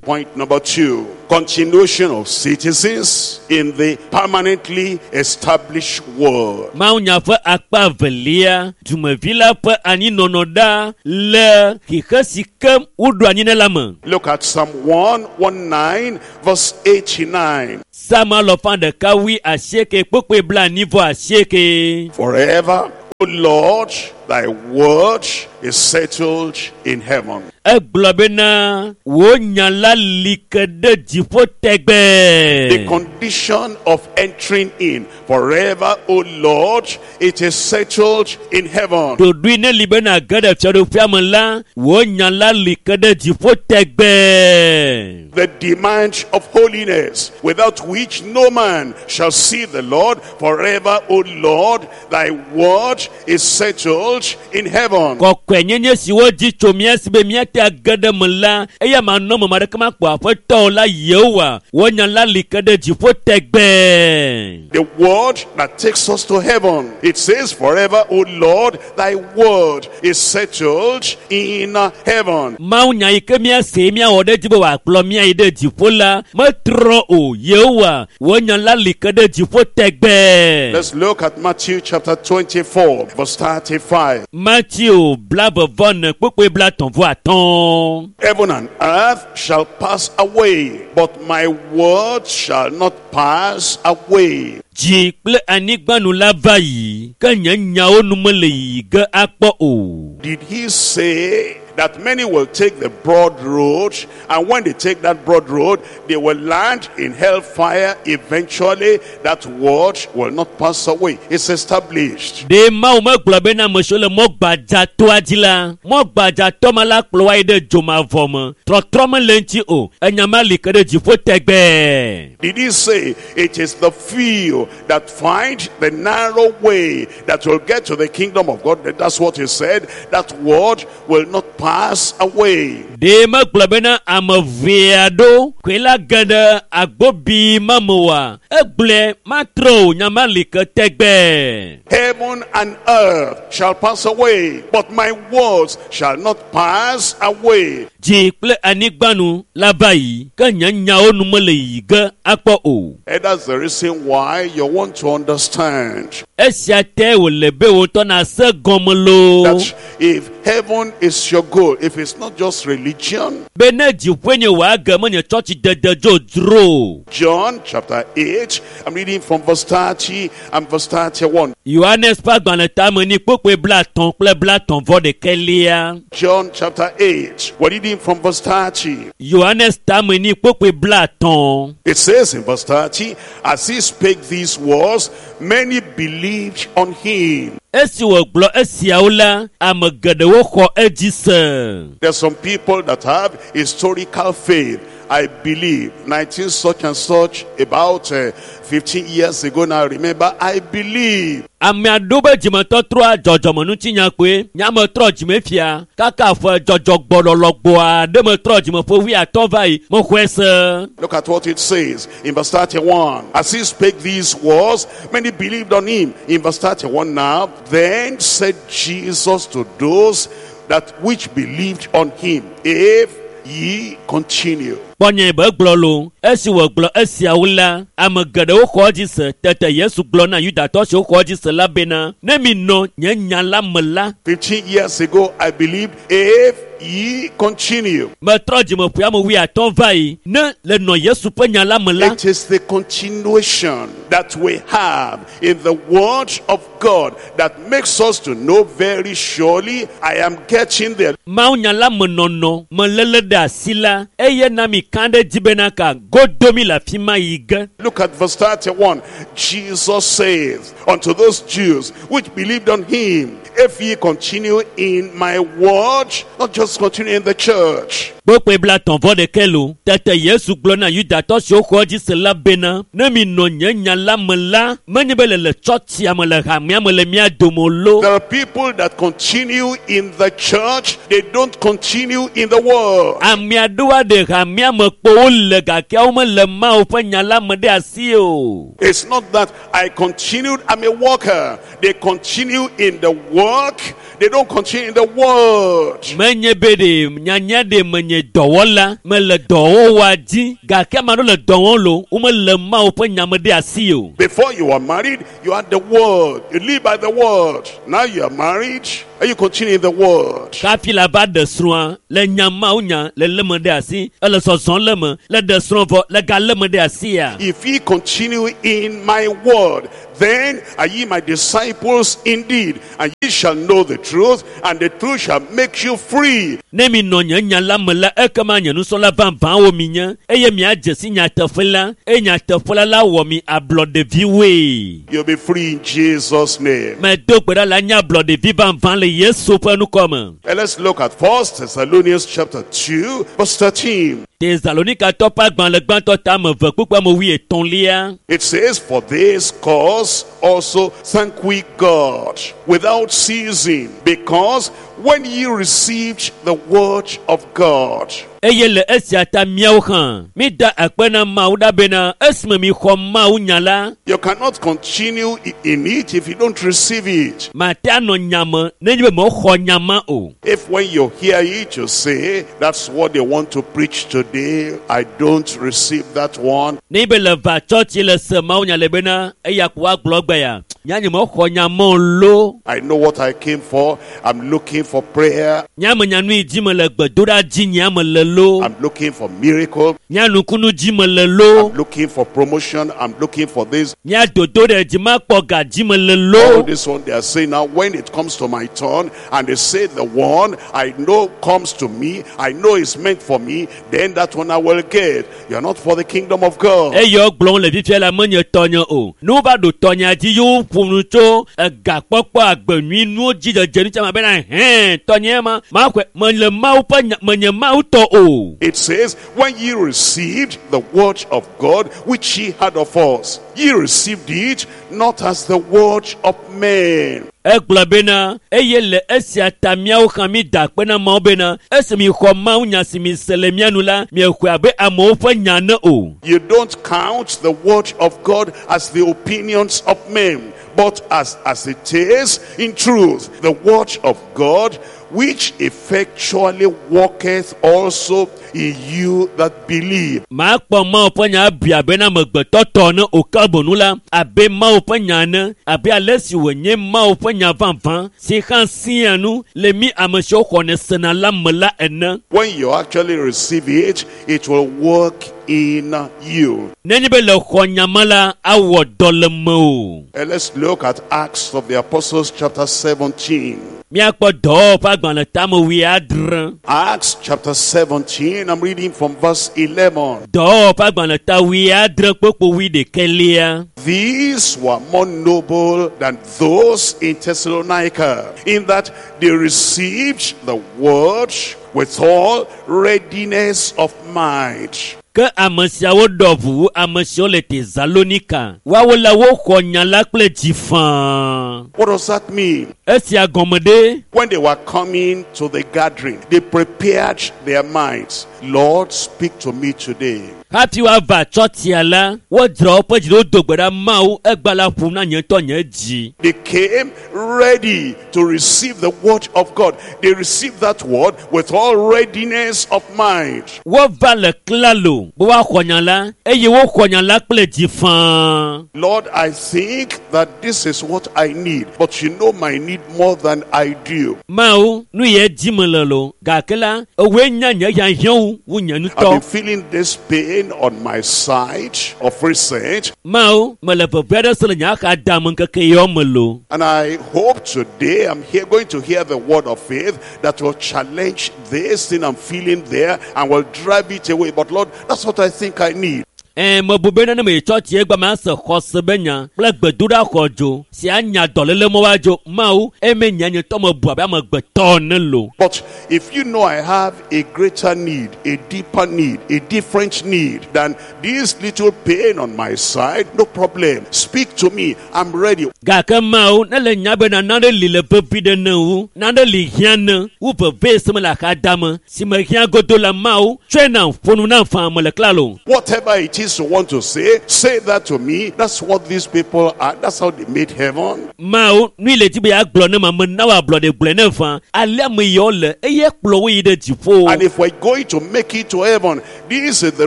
Point number two, continuation of citizens in the permanently established world. Mawunya ƒe akpa evelia, dumevi la ƒe anyinɔnɔ ɖa le xixe si ke woɖo anyi ne la me. Look at Psalm one nineteen, verse eighty-nine. Psalm alɔfa ɖeka wui asieke kpokpoe blaenyi vɔ asieke. Forever, O Lord, thy word is settled in heaven. Egblɔ bena wò nya la li ke ɖe dziƒo tɛgbɛɛ. The condition of entering in. Forever, O Lord, it is settled in heaven. Ɖoɖoe ne li bena ge ɖe fiaɖuƒea me la, wò nya la li ke ɖe dziƒo tɛgbɛɛ. The demand of holiness, without which no man shall see the Lord. Forever, O Lord, thy word is settled in heaven. Kɔkɔenyenye si wodzi tso mía si be míate age ɖe me la, eya manɔ me ame aɖeke makpɔ aƒetɔ o la Yehowa, wò nya la li ke ɖe dziƒo tɛgbɛɛ. The word that takes us to heaven. It says, forever, O Lord, thy word is settled in heaven. Mawu nya yi ke míase míawɔ ɖe edzi be wòakplɔ mía yi ɖe dziƒo la, metrɔ o. Yehowa, wò nya la li ke ɖe dziƒo tɛgbɛɛ. Let's look at Matthew chapter twenty-four, verse thirty-five. Matthew blaeve-vɔ-ene kpukpui blaetɔ̃ vɔ atɔ̃. Heaven and earth shall pass away, but my word shall not pass away. Dzi kple anyigba nu la va yi, ke nye nyawo nu mele yiyi ge akpɔ o. Did he say that many will take the broad road, and when they take that broad road, they will land in hellfire eventually? That word will not pass away. It's established. Ɖe Mawu megblɔ bena ame siwo le mɔ gbadzatoa dzi la, mɔ gbadzatɔ ma la kplɔ wo ayi ɖe dzomavɔ me. Trɔtrɔ mele eŋuti o. Enya ma li ke ɖe dziƒo tɛgbɛɛ. Did he say it is the few that find the narrow way that will get to the kingdom of God? That's what he said. That word will not pass away. Ɖe megblɔ bena ame ʋee aɖewo koe la ge ɖe agbobi ma me oa? Egblɔe matrɔ o, nya ma li ke tɛgbɛɛ. Heaven and earth shall pass away, but my words shall not pass away. Dzi kple anyigba nu la va yi, ke nye nyawo nu mele yiyi ge akpɔ o. And that's the reason why you want to understand Esia te wòle be wò ŋutɔ nase gɔme loo. that if heaven is your goal, if it's not just religion. Be ne dziƒoe nye wò age menye tsɔtsi dede dzodzro o. John chapter eight, I'm reading from verse thirty and verse thirty-one. Yohanes ƒe agbalẽ tame ni kpokpoe blaetɔ̃ kple blaetɔ̃ vɔ ɖekɛlia. John chapter eight, we're reading from verse thirty. Yohanes tame ni kpokpoe blaetɔ̃. It says in verse thirty, as he spake these words, many believed on him. Esi wògblɔ esiawo la, ame geɖewo xɔ edzi se. There's some people that have historical faith. I believe nineteen such and such about, uh, fifteen years ago now. Remember, I believe. Ame aɖewo be dzimetɔtrɔa dzɔdzɔmenutinya kpoe. Nyame trɔ dzime fia. Kaka ƒe dzɔdzɔgbɔlɔlɔgbɔa ɖe metrɔ dzime ƒe wuiatɔ̃ va yi. Mexɔe se. Look at what it says in verse thirty-one. As he spake these words, many believed on him. In verse thirty-one now, then said Jesus to those that which believed on him, if ye continue. Kpɔ nye be gblɔ lo esi wògblɔ esiawo la ame geɖewo xɔ edzi se tete Yesu gblɔ na Yudatɔ siwo xɔ edzi se la bena ne mi nɔ nye nya la me la Fifteen years ago, I believed if ye continue. Metrɔ dzime ƒe ame wuiatɔ̃ va yi ne le nɔ Yesu ƒe nya la me la It is the continuation that we have in the word of God that makes us to know very surely I am getting there. Mawu nya la me nɔnɔ meléle ɖe asi la eye na mi ka ɖe dzi bena ka godo mi le afi ma yi ge. Look at verse thirty-one. Jesus says unto those Jews which believed on him, if ye continue in my word, not just continue in the church. Kpokpoe bla tɔ̃ vɔ ɖekɛ lo tete Yesu gblɔ na Yudatɔ siwo xɔ edzi se la bena ne mi nɔ nye nya la me la menye be le le tsɔtsia me le hamea me le mía dome lo. There are people that continue in the church, they don't continue in the world. Ame aɖewo ɖe hamea me kpo wole gake womele Mawu ƒe nya la me ɖe asi o. It's not that I continued, I'm a worker. They continue in the work, they don't continue in the world. Menye be ɖe nyanya ɖe menye dɔwɔla mele dɔwɔwɔa dzi gake ame aɖewo le dɔ wɔm lo womele Mawu ƒe nya me ɖe asi o. Before you were married, you had the word. You live by the word. Now you are married and you continue in the word. Kafi la va ɖe srɔ̃a le nya Mawu nya le lé me ɖe asi ele zɔzɔm le me le ɖe srɔ̃ vɔ le ga lé me ɖe asia. If ye continue in my word, then are ye my disciples indeed, and ye shall know the truth, and the truth shall make you free. Ne mi nɔ nye nya la me la ekema nye nusrɔ̃la vavãwo mi nye eye miadze si nyateƒe la eye nyateƒe la la wɔ mi ablɔɖeviwoe. You'll be free in Jesus' name. Medo gbe ɖa la nye ablɔɖevi vavã le Yesu ƒe ŋkɔ me. And let's look at First Thessalonians chapter two, verse thirteen. Tesalonikatɔ ƒe agbalẽ gbãtɔ ta ame eve kpukpui ame wuietɔ̃lia. It says, for this cause also thank we God without ceasing, because when ye received the word of God. Eye le esia ta míawo hã mída akpe na Mawu ɖa bena esime mixɔ Mawu nya la. You cannot continue in it if you don't receive it. Mate anɔ nya me nenye be mexɔ nya ma o. If when you hear it, you say, that's what they want to preach today, I don't receive that one. Nenye be le va tsɔtsi le se Mawu nya le bena eya ko woagblɔ gbe ya nya nye mexɔ nya ma o lo. I know what I came for. I'm looking for prayer. Nya me nya nu yi dzi me le gbedoɖa dzi nya me le lo. I'm looking for miracle. Nya nukunu dzi me le lo. I'm looking for promotion. I'm looking for this. Nya dodo ɖe dzi makpɔ ga dzi me le lo. All this one they are saying now, when it comes to my turn, and they say the one I know comes to me, I know is meant for me, then that one I will get. You are not for the kingdom of God. Eye wogblɔm le fifia la menye tɔnye o. Ne wova ɖo tɔnyea dzi ye woƒo nu tso egakpɔkpɔ agbe nyui nuwo dzi dzedze nu tsɛ ma bena hɛn tɔnye ma maxɔe mele Mawu ƒe nya menye Mawu tɔ o. It says, when ye received the word of God, which ye had of us, ye received it not as the word of men. Egblɔ bena eye le esia ta míawo hã mi da akpe na Mawu bena esi mi xɔ Mawu nya si mi se le mía nu la miexɔe abe amewo ƒe nya ne o. You don't count the word of God as the opinions of men, but as, as it is in truth, the word of God, which effectually worketh also in you that believe. Makpɔ Mawu ƒe nya abui abe na amegbetɔ tɔ ne o ke bonu la abe Mawu ƒe nya ene abe ale si wònye Mawu ƒe nya vavã si hã sia nu le mí ame siwo xɔnɛ sena la me la ene. When you actually receive it, it will work in you. Nenye be le xɔ nya ma la awɔ dɔ le me o. And let's look at Acts of the Apostles chapter seventeen. Míakpɔ dɔwɔwɔ ƒe agbalẽ tame wuiadre. Acts chapter seventeen, I'm reading from verse eleven. Dɔwɔwɔ ƒe agbalẽ ta wuiadre kpokpo wuiɖekɛlia. These were more noble than those in Thessalonica, in that they received the word with all readiness of mind. Ke ame siawo ɖɔ ʋu wu ame siwo le Tesalonika. Woawo la woxɔ nya la kple dzi faa. What does that mean? Esia gɔme ɖe? When they were coming to the gathering, they prepared their minds. Lord, speak to me today. Hafi woava tsɔtsia la, wodzra woƒe dzi ɖe wodo gbe ɖa Mawu egba la ƒom na nye ŋutɔ nye dzi. They came ready to receive the word of God. They received that word with all readiness of mind. Wova le klalo be woaxɔ nya la eye woxɔ nya la kple dzi fãa. Lord, I think that this is what I need, but you know my need more than I do. Mawu, nu ye dzi me le lo gake la, ewoe nya nye hiahiãwo wu nye I've ŋutɔ. been feeling this pain on my side of recent, Mawu, mele veve aɖe se le nye axadame ŋkeke yawo me lo. and I hope today I'm here going to hear the word of faith that will challenge this thing I'm feeling there and will drive it away. But Lord, that's what I think I need. Ɛ mebu be ne me tsɔtsi egba ma se xɔse be nya kple gbedoɖa xɔdzo si anya dɔléle mɔ wa dzo Mawu eme nya nye tɔ me bu abe amegbetɔ ene lo. But if you know I have a greater need, a deeper need, a different need than this little pain on my side, no problem. Speak to me. I'm ready. Gake Mawu ne le nya bena nane li le vevi ɖe ne wu, nane li hiã ne wu veve si me le axadame si me hiã godo la Mawu tsɔe nam ƒo nu nam faa mele klalo. Whatever it is you want to say, say that to me. That's what these people are. That's how they made heaven. Mawu nu yi le dzi be yeagblɔ ne ma me na wò ablɔɖe gblɔe ne faa alea ame yawo le eye kplɔ wo yi ɖe dziƒo. And if we're going to make it to heaven, this is the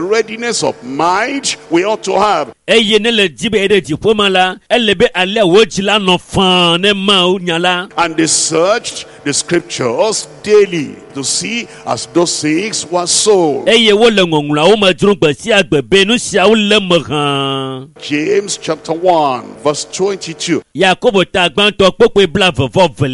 readiness of mind we ought to have. Eye ne le dzi be yeyi ɖe dziƒo ma la, ele be alea wò dzi la nɔ faa ne Mawu nya la. And they searched the scriptures daily to see as those things were so. Eye wole ŋɔŋlɔawo me dzrom gbe sia gbe be nu siawo le me hã. James chapter one, verse twenty-two. Yakobo ta gbãtɔ kpukpui blaeve vɔ velia.